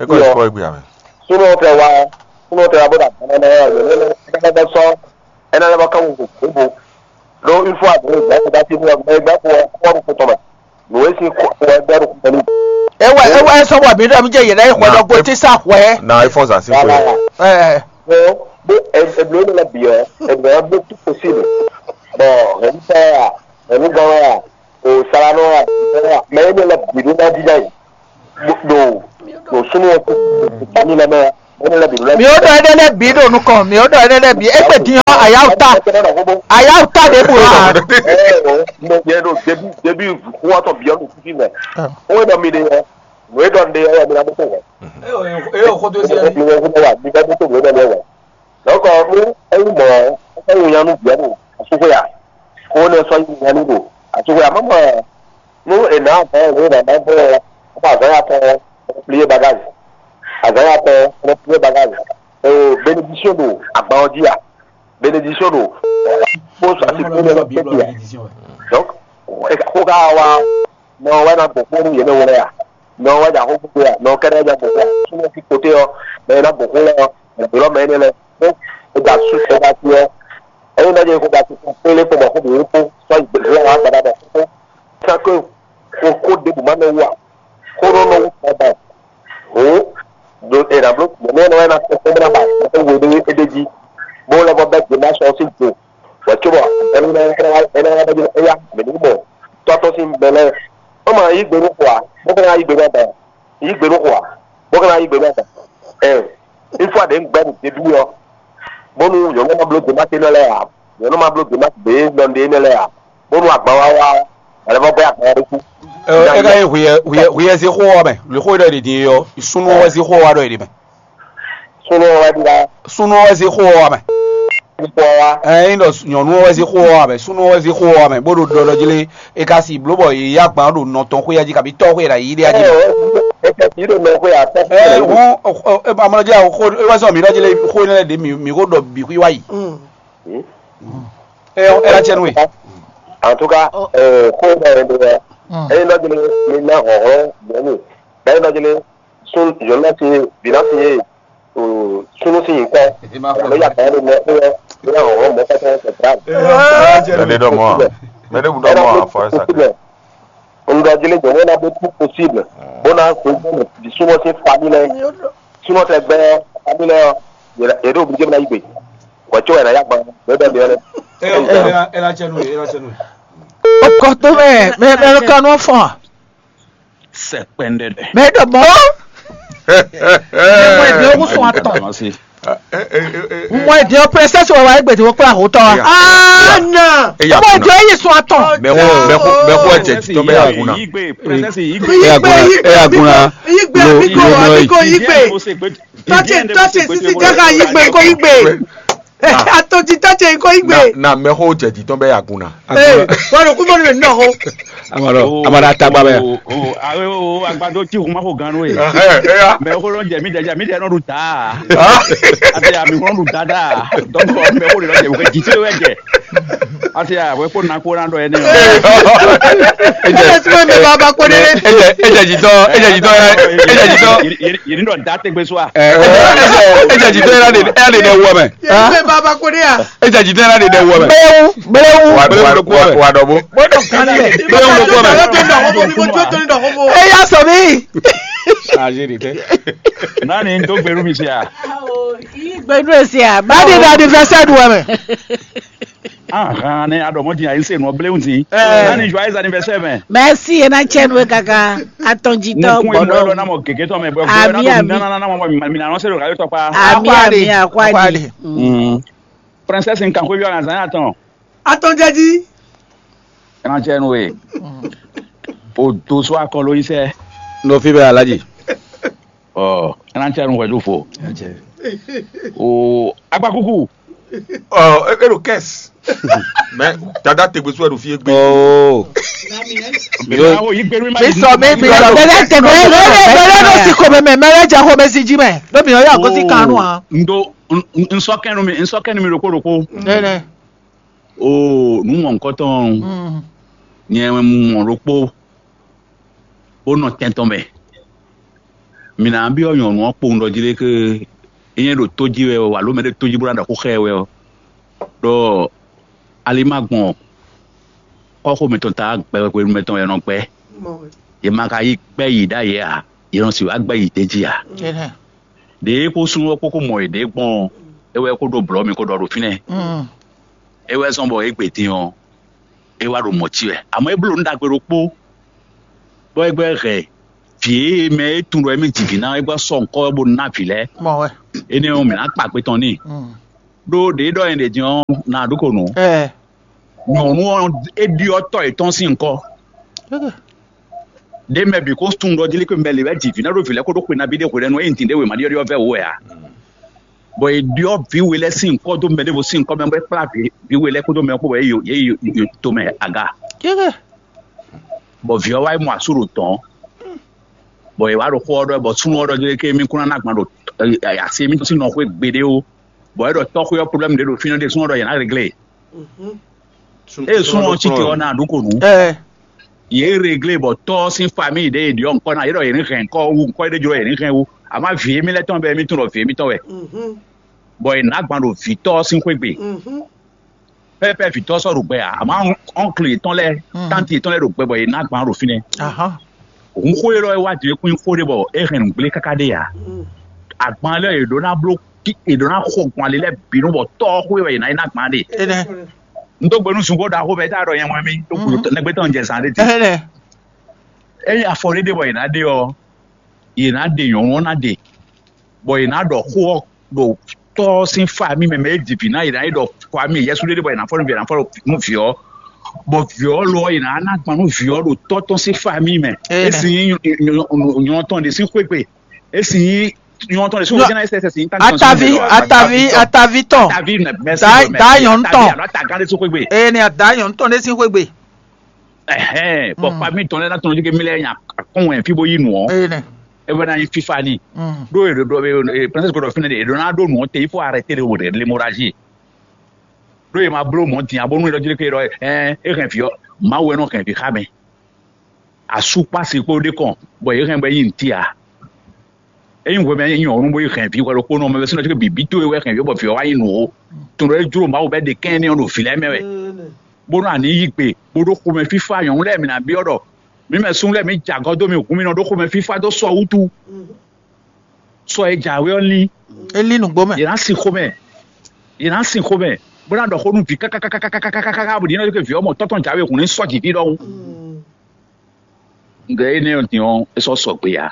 Ẹ kọ́ ìfọ́ ìgbé àmì. Súnú tẹ wá súnú tẹ wá bó dà gbọ́n náà yọ̀ lé lé ẹ ká bọ́ sọ ẹ náà lọ́wọ́ káwọn kò kó bo. Ló ń fún àgbẹ̀ ìgbà tó bá ti ní ọgbẹ́ ẹgbẹ́ kó ọkọ̀ ọ̀rùn kó tọ̀mọ̀. Lòwe sí kó ẹgbẹ́ rúkú pẹ̀lú. Ewa ewa esɔ wa mi ɖe mi dze yi ɖe xɔ ɖɔ go ti sa xɔɛ. Na iPhone sa si xɔɛ. Ɛ. Ɛ ɛ blo ne la biɔ ɛ blo blo tu possible. Bon, ɛ ni sa ya ɛ ni gan ya o sara nɔ ya mɛ ye ne la bi do na di na yi. Ɖo ɖo sunu ɔ ko mi na mɛ. Mɔ̌ lɛ́ɛ bǐ lɛ́ɛ. Mi ó ɖɔ énɛ́ lɛ́ɛ bǐ ɖo nukɔn, mi ó ɖɔ énɛ́ lɛ́ɛ bǐ. Égbé din ɔ́, ayáwutá, ayáwutá ɖěbǔ ǎ. Yɛ ɖo débí débí xó ɔ́ tɔn bǐ ɔ́ ɖo fífí mɛ. Xó e ɖɔ mi ɖe ɔ́, nǔ e ɖɔ un ɖe ɔ́ wɛ mi ná ɖó tó hwɛ. Eye o xó dó sí Mi ɛni. Wɛ xó wa, mi vɛ́ ɖó tó nǔ e ɖɔ mi ɔ́ wɛ. Donc nú é nyí mɔ̌ ɔ́, é nyí nya nú vǐ ɔ́ ɖo asúxwé a? Xó énɛ́ sɔ́ nyí nya nú ɖo asúxwé a? Má mɔ nú è nǎ vɛ́ è nǎ vɛ́ ɔ́, azǎn ya tɔn ɔ́, plié bagage. Azǎn ya tɔn ɔ́, plié bagage. Bénédiction ɖo agban ɔ́ jí a? Bénédiction ɖo kpó asixú ɖe lɔ tɛ́ntin a? Donc xó ka wá nɔ wɛ ná gbɔn kpó nú yě mɛ wlɛ́ a? Nɔ wɛ ná xó gbogbo a? Nɔ kɛ́ɖɛ́ ná gbɔn kpó a? Súnmọ́ fi kpoté ɔ́, mɛ e ná gbɔn kó lɛ́ɛ ɔ́, mɛ ɖě lɔ mɛ énɛ́ lɛ́ɛ. Ó da sú é da sí ɔ́, ényí ná jẹ́ kó da sú kpélé kpó bɔ xó bǐ kpó sɔ́ yi gběgbé wá gbadá bɔ kó sán kó xó ɖěbǔ má nɔ wú a? Xó nɔ nɔ wú tɔn ba hǔn ɖo è nǎ bló mɔ̌ nú ɛnɛ wɛ ná tɛ́ kpɔ́n bó ná ba é we ɖé é ɖ'é jí, bó lɛ́ vɔ bɛ́ gbe ná sɔ́ sín gbo, wɛ̌ cóbɔ ɛnɛ wá ɛnɛ wá bɛ́ éyá mɛ ní mɔ tɔ́ tɔn sín mɛ lɛ́ɛ. Ó ma yí gbe nú xo ǎ, bó ka ná yí gbe nú ɔ́ bɛɛ. Yí gbe nú xo ǎ, bó ka ná yí gbe nú ɔ́ bɛɛ. Ɛn, une fois ɖě un gbɛ́ nǔ ɖé ɖu ɔ́, bónú nyɔ̌nu ma bló gbe má tɛ́ nɔ lɛ́ɛ ǎ, nyɔ̌nu ma bló gbe má tɛ́ nɔ ɖé nɛ́ lɛ́ɛ ǎ, bónú agban wá wá ɔ́, wǎ lɛ́ vɔ gbɛ́ agban ɔ́ ɖésú. Ɛ, é ka nyí hwiyɛ hwiyɛ hwiyɛ zé xó ɔ́ mɛ, lě xó ɖɔ è ɖe din é ɔ́, súnnu ɔ́ wɛ zé xó ɔ́ wá ɖɔ è ɖe mɛ. Súnnu ɔ́ wɛ ɖíɖá. Súnnu ɔ́ wɛ zé xó ɔ́ wá mɛ. Xó ɔ́ wá. Ɛ, é nyí ɖɔ nyɔ̌nu ɔ́ wɛ zé xó ɔ́ wá mɛ, súnnu ɔ́ wɛ zé xó ɔ́ wá mɛ, bó ɖo ɖɔ ɖɔ jí lé, é ka si bló bɔ yě yí agban ɖo nɔ tɔn xwé jí kabi tɔ́ xwé ɖo ayǐ ɖé jí. Ɛ, ɛ, ɛ, ɛ, yí ɖo nɔ xwé ǎ, tɔ́ xwé Ɛ, ɖo ayǐ ɖé. Hɔn, ɔ, ɔ, ɛ, amlɔ jí awo xó, é wá zɔn mǐ ɖɔ jí lé, xó énɛ́ lɛ́ɛ ɖě mǐ mǐ xó ɖɔ bǐ xwí wá yi. Ɛ, ɛ, ɛ, cɛnu we. En tout cas, ɛ, xó ɖɔ ɛ ɖe ɛ, ɛ, nɔ jɛnɛ mi ná hɔn hɔn nyɔ̌nu, ɛ, nɔ jɛnɛ sun nyɔ̌nu ná sin vǐ ná sin yé, o, súnnu sín nyǐkɔ, alo ya kan ɖo mɛ xó ɛ, ɛ, hɔn hɔn mɔ kɛtɛ ɛ, grave. Mɛ ɖé ɖɔ mɔ a? Mɛ ɖé bu ɖɔ mɔ a? Fɔ ɛ sa tɛ. Un ɖɔ jí lé nyɔ̌nu ná ɖó tout possible, bó ná xweyǐgbe mɛ vǐ súnnu sín famille lɛ́ɛ. Súnnu tɛ gbɛ́ famille lɛ́ɛ ɔ́, yě ɖo obligé ná yí gbe. Hwɛ̌ có wɛ è nǎ yá gban, bó ɖɔ mǐ ɔ́ lɛ́ɛ. Ela cɛnu, ela cɛnu. Okɔto mɛ, mɛ mɛ ló ka nɔ fɔn. Sɛ kpɛndɛdɛ. Mɛ ɖɔ mɔ. Mɛ ɖɔ ko sɔn atɔn. Mɔ ìdí ɔ pẹrẹsẹsì wà wáyé gbèdé wọ́n kpla hó tọ́ wa. Ana. Mɔ ìdí ɔ yé sɔn atɔn. Mɛ ko mɛ ko mɛ ko jẹ titɔ bɛ yà kun na. Yigbe, princess yigbe. Yigbe, yigbe, yigbe, yigbe, yigbe, yigbe. Tɔtse, tɔtse, sisi jaka yigbe, ko yigbe. Atɔnti tɔtse, ko yigbe. Na mɛ ko jẹ titɔ bɛ yà kun na. Ee, wọ́n lọ kú mọ́nú mi nínú ọ̀hún. Amọ̀rọ̀ amọ̀rọ̀ àtàgbà bẹ́ẹ̀. O o awe o agbadó tí kò má kó gan ló ye. Mɛ ko ló ń jẹ mí jẹ mí jẹ nọ́ọ̀dù tá. Àti àmì kò nọ́ọ̀dù dáadáa. Dọ́kọ̀ mɛ ko lè lọ jẹ wọ́n jì tí ló wẹ̀ jẹ. Àti àwẹ̀ kó na kó na dọ̀ ẹni. Ejẹ tí wọ́n mi bá bá kó délé. Ejẹ ejẹ jìtọ ejẹ jìtọ ejẹ jìtọ. Yìí ní dọ̀ dá tẹgbẹ́ sọ wa. Ejẹ jìtọ ẹ lè ẹ lè dẹ wọ mẹ. Yìí ní bá bá kó dé yà. Ejɛ jitɔn yɛn na ɖe ɖɛ wɔ mɛ. Bléwu, bléwu. Wa wa wa wa dɔ bo. Bléwu ló kú mɛ. Eya sɔ mi. Chargé de tɛ. Nani n tó gbèrú mi se a? Gbẹdú esi a. Báyìí ní anniversaire du wɛ mɛ. Ahan ne a dɔ mɔ din a yi se nɔ bléwu ti. Nani joyeux anniversaire mɛ. Merci ena cɛ nu kaka. Atɔn jitɔ gbɔdɔ. Mo kún emu lɔ na mɔ gègé tɔ mɛ bɔ. Ami ami. Nana na mɔ mi na nɔ se do radio tɔ pa. Ami ami akwadi. Princesse nkan xwé byɔ́ na zan atɔn. Atɔn jɛji. Ɛnacɛnu e. O do so akɔlo yi sɛ. No fi bɛ alaji. Ɔ ɛnacɛnu wɛ do fo. O agbakuku. Ɔ e ɖo kɛs. Mɛ dada tegbe so ɛ ɖo fi egbe. Oo. Mɛ awo yi gbɛnu ma. Sísọ mi mi sọ. Bɛlɛ tẹmɛ bɛlɛ bɛlɛ ló sì kò mɛmɛ mɛlɛ jẹ kò mɛ sí jí mɛ lómi ọyọ àgọsí kanu hàn. Ndo nsɔkɛnu mi nsɔkɛnu mi ɖokpo ɖokpo. Nɛnɛ. Oo nǔ mɔ̌hunkɔtɔn nyɛ mɔ ɖokpó bó nɔ tɛn tɔn mɛ. Mǐ ná byɔ́ nyɔ̌nu ɔ́ kpowun ɖɔ jí lé ké é nyɛ ɖo tó jí wɛ ɔ́, alo mɛ ɖé tó jí bó ná ɖɔ xó xá ɛ wɛ ɔ́, ɖɔ ali ma gbɔn kɔ́xo mǐtɔn ta gbɛ hwenu mɛtɔn wɛ è nɔ gbɛ́. Yě ma ka yí gbɛ́ yǐ ɖ'ayǐ ǎ, yě nɔ sixú wá gbɛ́ yǐ d'é jí ǎ. Ɖěe kó súnnu ɔ́ kpó kó mɔ yěɖée gbɔn ɔ́, é wɛ kó ɖó blɔ̌ mi kó ɖɔ ɖo fínɛ́. É wɛ zɔ́n bɔ égbé din ɔ́, é wá ɖo mɔ̌ cí wɛ. Amɔ̌ é bló nǔ ɖagbe ɖokpó, bɔ é gbɛ́ hɛn vǐ e mɛ e tunwun ɖɔ émí ji vǐ ná é gbɔ sɔ́ nukɔn bó ná vǐ lɛ́ɛ. Mɔ wɛ. Énɛ́ ɔ́, mǐ ná kpa kpe tɔn n'i. Ɖó ɖě ɖɔ nyɛ ɖě din ɔ́, na ɖó ko nǔ. Ɛ. Nyɔ̌nu ɔ́, é ɖyɔ́ tɔ́ yětɔn sín nukɔn. Ɖé mɛ bǐ ko tunwun ɖɔ jí lé ko mɛ lě wɛ ji vǐ ná ɖó vǐ lɛ́ɛ kó ɖó xwe nabí ɖé hwelɛ́nu e nyi dǐndé wěma ɖyɔ́ɖyɔ́ vɛ́ wǒ wɛ ǎ. Bɔ è ɖyɔ́ vǐ we lɛ́ɛ sín nukɔn dó mɛ ɖěvo sín nukɔn mɛ bɔ é kplá vǐ vǐ we lɛ́ɛ kpódó mɛ kpó bɔ yě yi yě yi tomɛ aga. Bɔ vǐ ɔ́ wá yi mɔ asú ɖo tɔ̌n. Bɔ è wá ɖo xó ɔ́ ɖɔ bɔ súnnu ɔ́ ɖɔ jí lé ké mí kún ná ná gban ɖo asi émítɔn sín nɔ xwé gbeɖé ó. Bɔ é ɖɔ tɔ́xwé ɔ́ problème ɖé ɖo fínɛ́ ɖé súnnu ɔ́ ɖɔ yě ná réglé. Ée súnnu ɔ́ cí te ɔ́ ná ɖu ko nǔ. Yě réglé bɔ tɔ́ ɔ́ sín famille ɖě è ɖyɔ́ nukɔn ná yě ɖɔ yě ní hɛn kɔ́ wú nukɔn é ɖé jló yě ní hɛn wú. Àmọ́ vǐ émí lɛ́ɛ tɔn bɛ émí tunwun ɖɔ vǐ émítɔn wɛ. Bɔ è nǎ gban ɖo vǐtɔ́ ɔ́ sín xwé gbe. Pɛ́pɛ́ vǐtɔ́ ɔ́ sɔ́ ɖo gbɛ ǎ, àmọ́ ɔ́nklu yětɔn lɛ́ɛ tánti yětɔn lɛ́ɛ ɖo gbɛ bɔ è nǎ gban ɖo fínɛ́. Hǔn xó élɔ́ e wá din é kún nyí xó ɖé bɔ é hɛn nǔgblé káká ɖé ǎ. Agban lɛ́ɛ è ɖǒ ná bló kí è ɖǒ ná xo gbɔn ali lɛ́ɛ bǐ nú bɔ tɔ́ ɔ́ xwé wɛ è nǎ yi ná gbǎn ɖe. Énɛ́. Un dó gbe nú zungbó ɖaxó mɛ é tá ɖɔ nyɛ mɔ mì ɖó gǔdo nɛgbé tɔn jɛ zǎn ɖé din. Énɛ́. Ényí afɔ ɖé ɖe bɔ è nǎ ɖe ɔ́, è nǎ ɖe nyɔ̌nu ɔ́ ná ɖe, bɔ è nǎ ɖɔ xó ɔ́ ɖo tɔ́ ɔ́ sín famille mɛ mɛ é ji vǐ ná è nǎ yi ɖɔ famille yɛsú ɖé ɖe bɔ è nǎ fɔ nú vǐ è nǎ fɔ nú vǐ ɔ́, bɔ vǐ ɔ́ lo ɔ́ è nǎ ná gbɔn nú vǐ ɔ́ ɖo tɔ́ tɔn sín famille mɛ. É sin nyí nyɔ̌nu tɔn ɖě sín xwé gbe. É sin nyí nyɔ̌nu tɔn ɖě sín xwé gbe. Atavi, atavi, atavi tɔn. Atavi mɛ mɛ Da- da nyɔ̌nu tɔn. Alo atagán ɖé sín xwé gbe. Eye ni ada nyɔ̌nu tɔn ɖé sín xwé gbe. Ɛhɛn, bɔ famille tɔn lɛ́ɛ ná tɔn jí ké mi lɛ́ɛ nya akɔn wɛ fí bó yí nǔ ɔ́. Eye nɛ. É bɛ ná nyí fífá ni. Ɖó è ɖo ɖɔ princesse gbɔdɔ fínɛ ɖe è ɖo ná ɖó nǔ ɔ́ te il faut arrêter le le moraji. Ɖó è ma bló mɔ̌ din abónú é ɖɔ jí ké ɖɔ ɛ é hɛn vǐ ɔ́ Mawu wɛ nɔ hɛn vǐ xá mɛ. Asú kpó asi kpó ɖé kɔn bɔ yě hɛn bɔ é nyí nǔtí ǎ. Ényí hwemɛ nyí nyɔ̌nu bó yi hɛn vǐ hwɛ ɖokpónɔ mɛ bɛ́ sínú ɔ́ bǐ tó e wɛ hɛn vǐ bɔ vǐ ɔ́ wá nyí nǔ ó. Tun ɖɔ é jló Mawu bɛ́ ɖe kɛ́n énɛ́ ɔ́ ɖo vǐ lɛ́ɛ mɛ wɛ. Bónú a ní yí gbe bó ɖó xomɛ fífá nyɔ̌nu lɛ́ɛ mǐ ná byɔ́ ɖɔ mǐ mɛ súnnu lɛ́ɛ mǐ jɛ agɔ́ dó mì hǔn mì nɔ ɖó xomɛ fífá dó sɔ wútu. Sɔ e jǎwe ɔ́ lín. É lín nǔgbó mɛ. Yě ná sin xomɛ. Yě ná sin xomɛ bó ná ɖɔ xó nú vǐ kákákákákákákáká bó ɖi nɔ ɖo vǐ ɔ́ mɔ tɔ́tɔn jǎwe hǔn ní sɔ́ jǐ fí ɖɔhun. Gɛ̌ énɛ́ ɔ́ din ɔ́, é sɔ́ sɔgbe ǎ.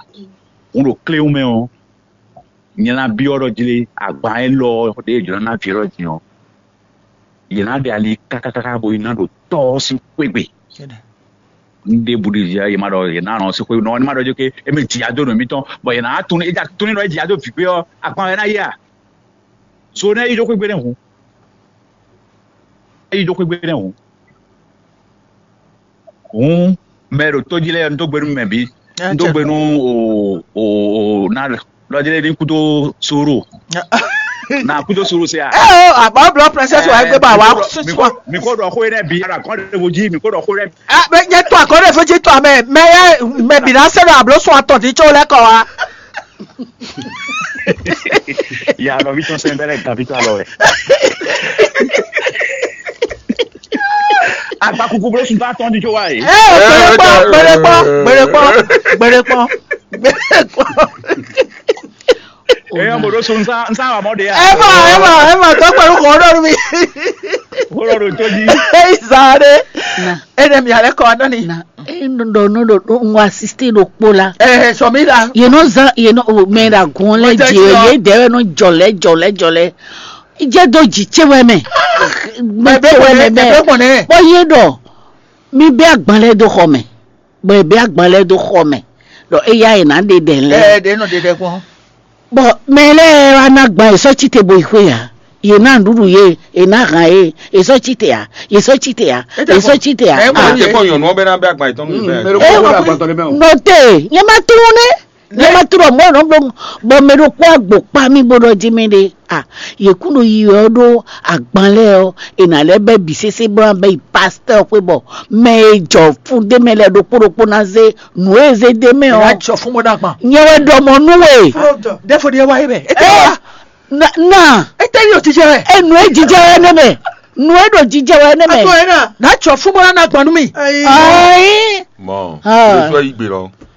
Hǔn ɖo kléwún mɛ ɔ́, nyɛ ná byɔ́ ɖɔ jlé agban élɔ́ ɔ́ ɖě è jlǒ ná ná vǐ élɔ́ din ɔ́, yě ná ɖe ali kákákáká bo yi ná ɖo tɔ́ ɔ́ sín xwé gbe. Un ɖe bǔ ɖi yě ma ɖɔ yě ná nɔ sín xwé nɔ ní ma ɖɔ jó ké émí jǐ adó nǔ émítɔn, bɔ yě ná tunú é já tunú nɔ é jǐ adó vǐ gbé ɔ́, agban wɛ ná yí a? Zo nɛ́ yí ɖó xwé gbe nɛ́ hǔn. É yí ɖó xwé gbe nɛ́ hǔn. Hǔn mɛ e ɖo tó jí lɛ́ɛ ɔ́, un dó gbe nú mɛ bǐ. Un dó gbe nú o o o na lɔ jí lɛ́ɛ ní kúdó sóro. Na kúdó sóro se a? Ɛ o, àbọ̀ blɔ princess wa gbé bá wa sísọ. Mi kò dɔ xó yé dɛ bi ala kɔn de vo jí mi kò dɔ xó yé dɛ. Ɛ bɛ nyɛ tó akɔn de vo jí tó amɛ mɛ yɛ mɛ bi na se do ablo sɔn atɔ di tso lɛ kɔ wa. Ya nɔvítɔn sɛn bɛlɛ gavítɔ alɔ wɛ. Agbakuku blo sun tó atɔn di tso wa yi. Ɛ gbɛrɛ kpɔ gbɛrɛ kpɔ gbɛrɛ kpɔ gbɛrɛ kpɔ gbɛrɛ kpɔ. Eyɔn mo ɖo so nsa nsa wa mɔ de ya. Ema ema ema tɔ pẹ̀lú kò ɖo mi. Kò ɖo tó di. Eyi zaa de. Na. Ene mi alɛ kɔ anɔ ni. Na. E nɔ ɖɔ nɔ ɖo ɖo ŋu asiste ɖo kpo la. Ɛɛ sɔ mi la. Ye nɔ zan ye nɔ o mɛ ɖa gun lɛ Mo jɛ dzi o yɔ. Ye dɛ wɛ nɔ jɔlɛ jɔlɛ jɔlɛ. Jɛ do dzi tse wɛ mɛ. Mɛ tse wɛ mɛ bɛ. Bɔ ye ɖɔ mi bɛ agban lɛ do xɔ mɛ. Bɔ ye bɛ agban lɛ do xɔ mɛ. Ɖɔ eya ye na ɖe ɖɛ lɛ. Ɛɛ ɖe nɔ ɖe ɖɛ kpɔn. Bɔ mɛ lɛ́ɛ wá ná gban è sɔ́ cíte bo yi xwé ǎ. Yě ná nǔɖuɖu yě, è nǎ han yě, è sɔ́ cíte ǎ, è sɔ́ cíte ǎ, è sɔ́ cíte ǎ. Ɛ wọ́n ti kọ́ nyɔ̀nù ɔbẹ̀ náà bẹ́ àgbà ìtọ́nú mi bẹ́ẹ̀. Ẹ wọ́n nɔ te nyɛ ma tlú ne nyɛ ma tlú mɔ nɔ bló bɔ mɛ ɖo kpɔ agbo kpa mi bó ɖɔ jí mi ɖe a yě kún ɖo yi ɔ ɖó agban lɛ ɔ è nà lɛ bɛ bi sese bó ná bɛ yi pasteur xwé bɔ mɛ e jɔ fún ɖé mɛ lɛ ɖokpó ɖokpó ná zé nǔ e zé ɖé mɛ ɔ. Ná jɔ fún bó ná gbɔn. Nyɛ wɛ ɖɔ mɔ nú we. Ɖɛfo ɖe wá yé mɛ. Ete wá. Na na. Ete yóò jíjẹ wɛ. Enu e jíjẹ wɛ ne mɛ. Nu e ɖo jíjẹ wɛ ne mɛ. Atɔ yẹn náà. Ná jɔ fún bó ná gbɔn nú mi. Ayi. Mɔ Ah. Joshua yí gbé lọ.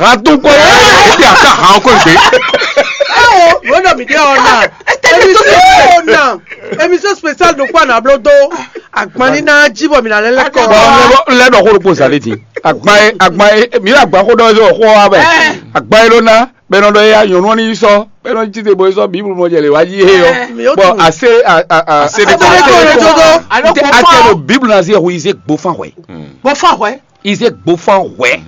han tó kɔ, é ti ata han kɔ gbé. Awo, wọ́n dọ̀ mí dé ọ̀nà. Émission spéciale de quoi na blodo. Agbani na jibo mi na lele kɔ. Lɛ dɔ ko ɖokpo zali ti. Agba ye, agba ye, mi la gba ko dɔ yɔ ko wa bɛ. Agba ye ló ná, bɛ nɔ dɔ ya nyɔnu ni sɔ, bɛ nɔ ti te bo sɔ Bible mɔ jɛ le wa ji he yɔ. Bɔn ase a a a ase de ko ase de ko. Ate do Bible na se hu ize gbo fan hwɛ. Bɔ fan hwɛ. Ize gbo fan hwɛ.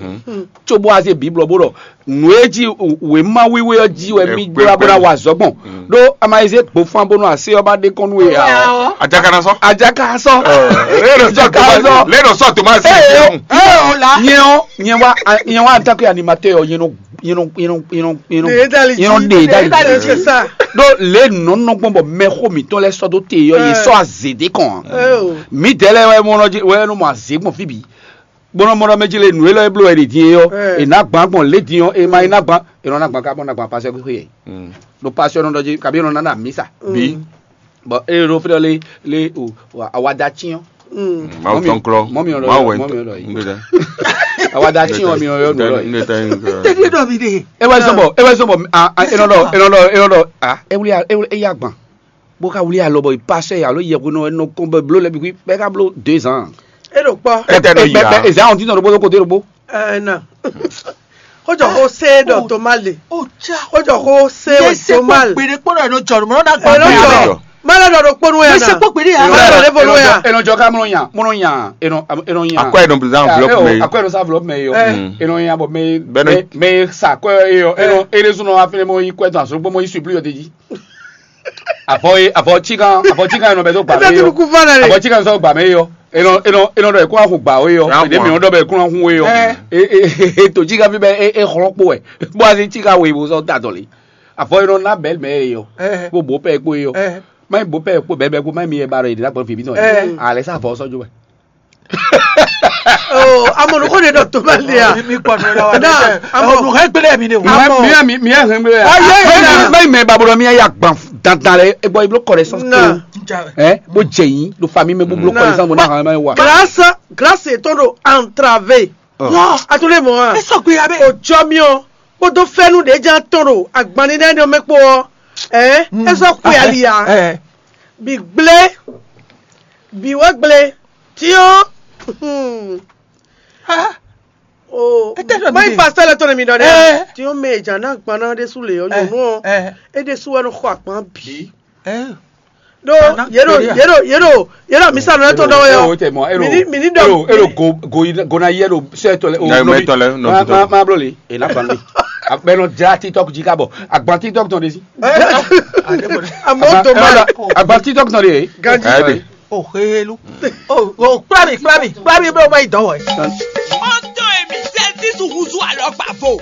Tso bo ase Bible bo dɔ nu e ji wema wiwe ɔ ji wɛ mi gbla bo na wa zɔ gbɔn. Ɖó ama ize gbo fan bónú ase ɔ́ ba ɖe kɔn nú we ǎ. Ajaka na sɔ. Ajaka sɔ. Ajaka sɔ. Lẹ́nu sọ Thomas. Nyɛ ɔ nyɛ wa nyɛ wa antakɛ animatɛ ɔ nyɛ nɔ nyɛ nɔ nyɛ nɔ nyɛ nɔ nyɛ nɔ ɖe dali. Ɖó le nɔ nɔ gbɔn bɔ mɛxó mǐtɔn lɛ sɔ dó te yɔ yě sɔ azě ɖé kɔn. Mǐdɛɛ lɛ wɛ mɔ nɔ wɛ nɔ mɔ azě gbɔn fí bǐ. Gbɔnɔ mɔ ɖɔ mɛ jí lé nǔ élɔ́ e bló wɛ ɖě din é ɔ́, è nǎ gbǎn gbɔn lě din ɔ́, è ma yi ná gbǎn, è nɔ ná gbǎn ká bɔ ná gbǎn pasɛ́ xwé é. Ɖo pasɛ́ nɔ ɖɔ jí kabi è nɔ ná ná mǐsa. Bí. Bɔ é ɖo fí ɖɔ lé lé o awada cyɔ́n. Mawu tɔn klɔ. Mɔ mi ɔlɔ Mawu wɛ mɔ mi ɔlɔ yi. Awada cyɔ́n mi ɔlɔ yɔ nù lɔ yi. Tɛ́lí ɖɔ mi ɖe. É wá sɔbɔ é wá sɔbɔ a a é nɔ ɖɔ é nɔ ɖɔ é nɔ ɖɔ a é wuli a é wuli é yá gbɔn. Bó ká wlí alɔ bɔ pasɛ alo yɛhwenu ɛ nɔ kɔn bɛ bló lɛ bǐ bɛ ká bló deux ans. E ɖo kpɔ. Kɛtɛ ɖo yi ya. Ezan ɔn ti nɔ ɖokpó ɖokpó ɖokpó. Ɛna. Xójɔ xó sé ɖɔ tó má le. Xójɔ xó sé wɛ tó má le. Gbede kpɔnɔ ɛnɔ jɔ mɔ na gba Ɛnɔ jɔ. Má lɛ ɖɔ ɖokpó nu yɛ na. Mɛsɛ kpɔ gbede yà. Má lɛ ɖɔ ɖe fɔ nu yà. Ɛnɔ jɔ ká mɔnɔ nya mɔnɔ nya ɛnɔ ɛnɔ nya. Akɔ ɛnɔ bizan enveloppe mɛ. Akɔ ɛnɔ sa enveloppe mɛ yɔ. Ɛnɔ nya bɔ mɛ mɛ sa akɔ yɔ ɛnɔ ɛnɛ sunɔ afɛnɛ mɔ yi kɔ ɛtɔ asɔrɔ gbɔmɔ yi supli yɔ de ji. Avɔ ye avɔ cikan avɔ cikan yɛ nɔ bɛ tó gba mɛ yɔ. Avɔ cikan sɔ gba mɛ yɔ. Enɔ enɔ enɔ dɔ ekun ahun gba wo yɔ. Ede mi dɔ bɛ ekun ahun wo yɔ. E e e to cikan fi bɛ e e xlɔ kpo wɛ. Bó a se cikan wo ibo sɔ ta dɔli. Avɔ enɔ na bɛ mɛ yɔ. Kó bo pɛ kpo yɔ. Má bo pɛ kpo bɛ bɛ kpo má mi yɛ ba dɔ yìí dina gbɔ fi bi tɔ yìí. Alɛ sa avɔ sɔ jo wɛ. Amɔnukɔ de dɔ to bɛ lia. Mi kpɔ nɔ la wa. Na amɔnu hɛ gbele mi ne o. Mi mi mi mi hɛ gbele ya. Ayi ayi na. Mɛ mɛ babolo mi ya gban dandan lɛ e bɔ iblo connaissance ko. Ɛ o jɛ yin do famille mɛ bublo connaissance mo na hàn mɛ wa. Grâce grâce to do entravé. A to le mɔ wa. E sɔ gbe ya bɛ. O jɔ mi o. Kpódó fɛ́nú ɖě jɛ́n atɔn ɖo agbanní nɛ́ nɔ mɛ kpó ɔ́, ɛ̌ é sɔ́ xwe ali ǎ. Bǐ gblé, bǐ wɛ gblé, tyɔ́n. Má yi fa sɛ́lɛ tɔn nɛ mi ɖɔ nɛ́. Tyɔ́n mɛ è jǎ ná agban ná ɖésú lě ɔ́, nyɔ̌nu ɔ́, é ɖésú wɛ nɔ xɔ agban bǐ. Ɖó yě ɖo yě ɖo yě ɖo yě ɖo amisa nɔ tɔn ɖɔ wɛ ɔ. Mini mini ɖɔ elo go go yi go na yi elo sɛ tɔ lɛ o nɔ mi tɔ lɛ nɔ mi tɔ ma blo le e na fan mi. Akpɛ nɔ dza TikTok dzi ka bɔ agban TikTok tɔn de si. Amɔ tɔ ma agban TikTok tɔn de. Ganji. O helu. O o kpla mi kpla mi kpla mi bro ma yi dɔ wɔ. Ọtọ èmi sẹ́ńtì sùn húzú àlọ́ gbà fò.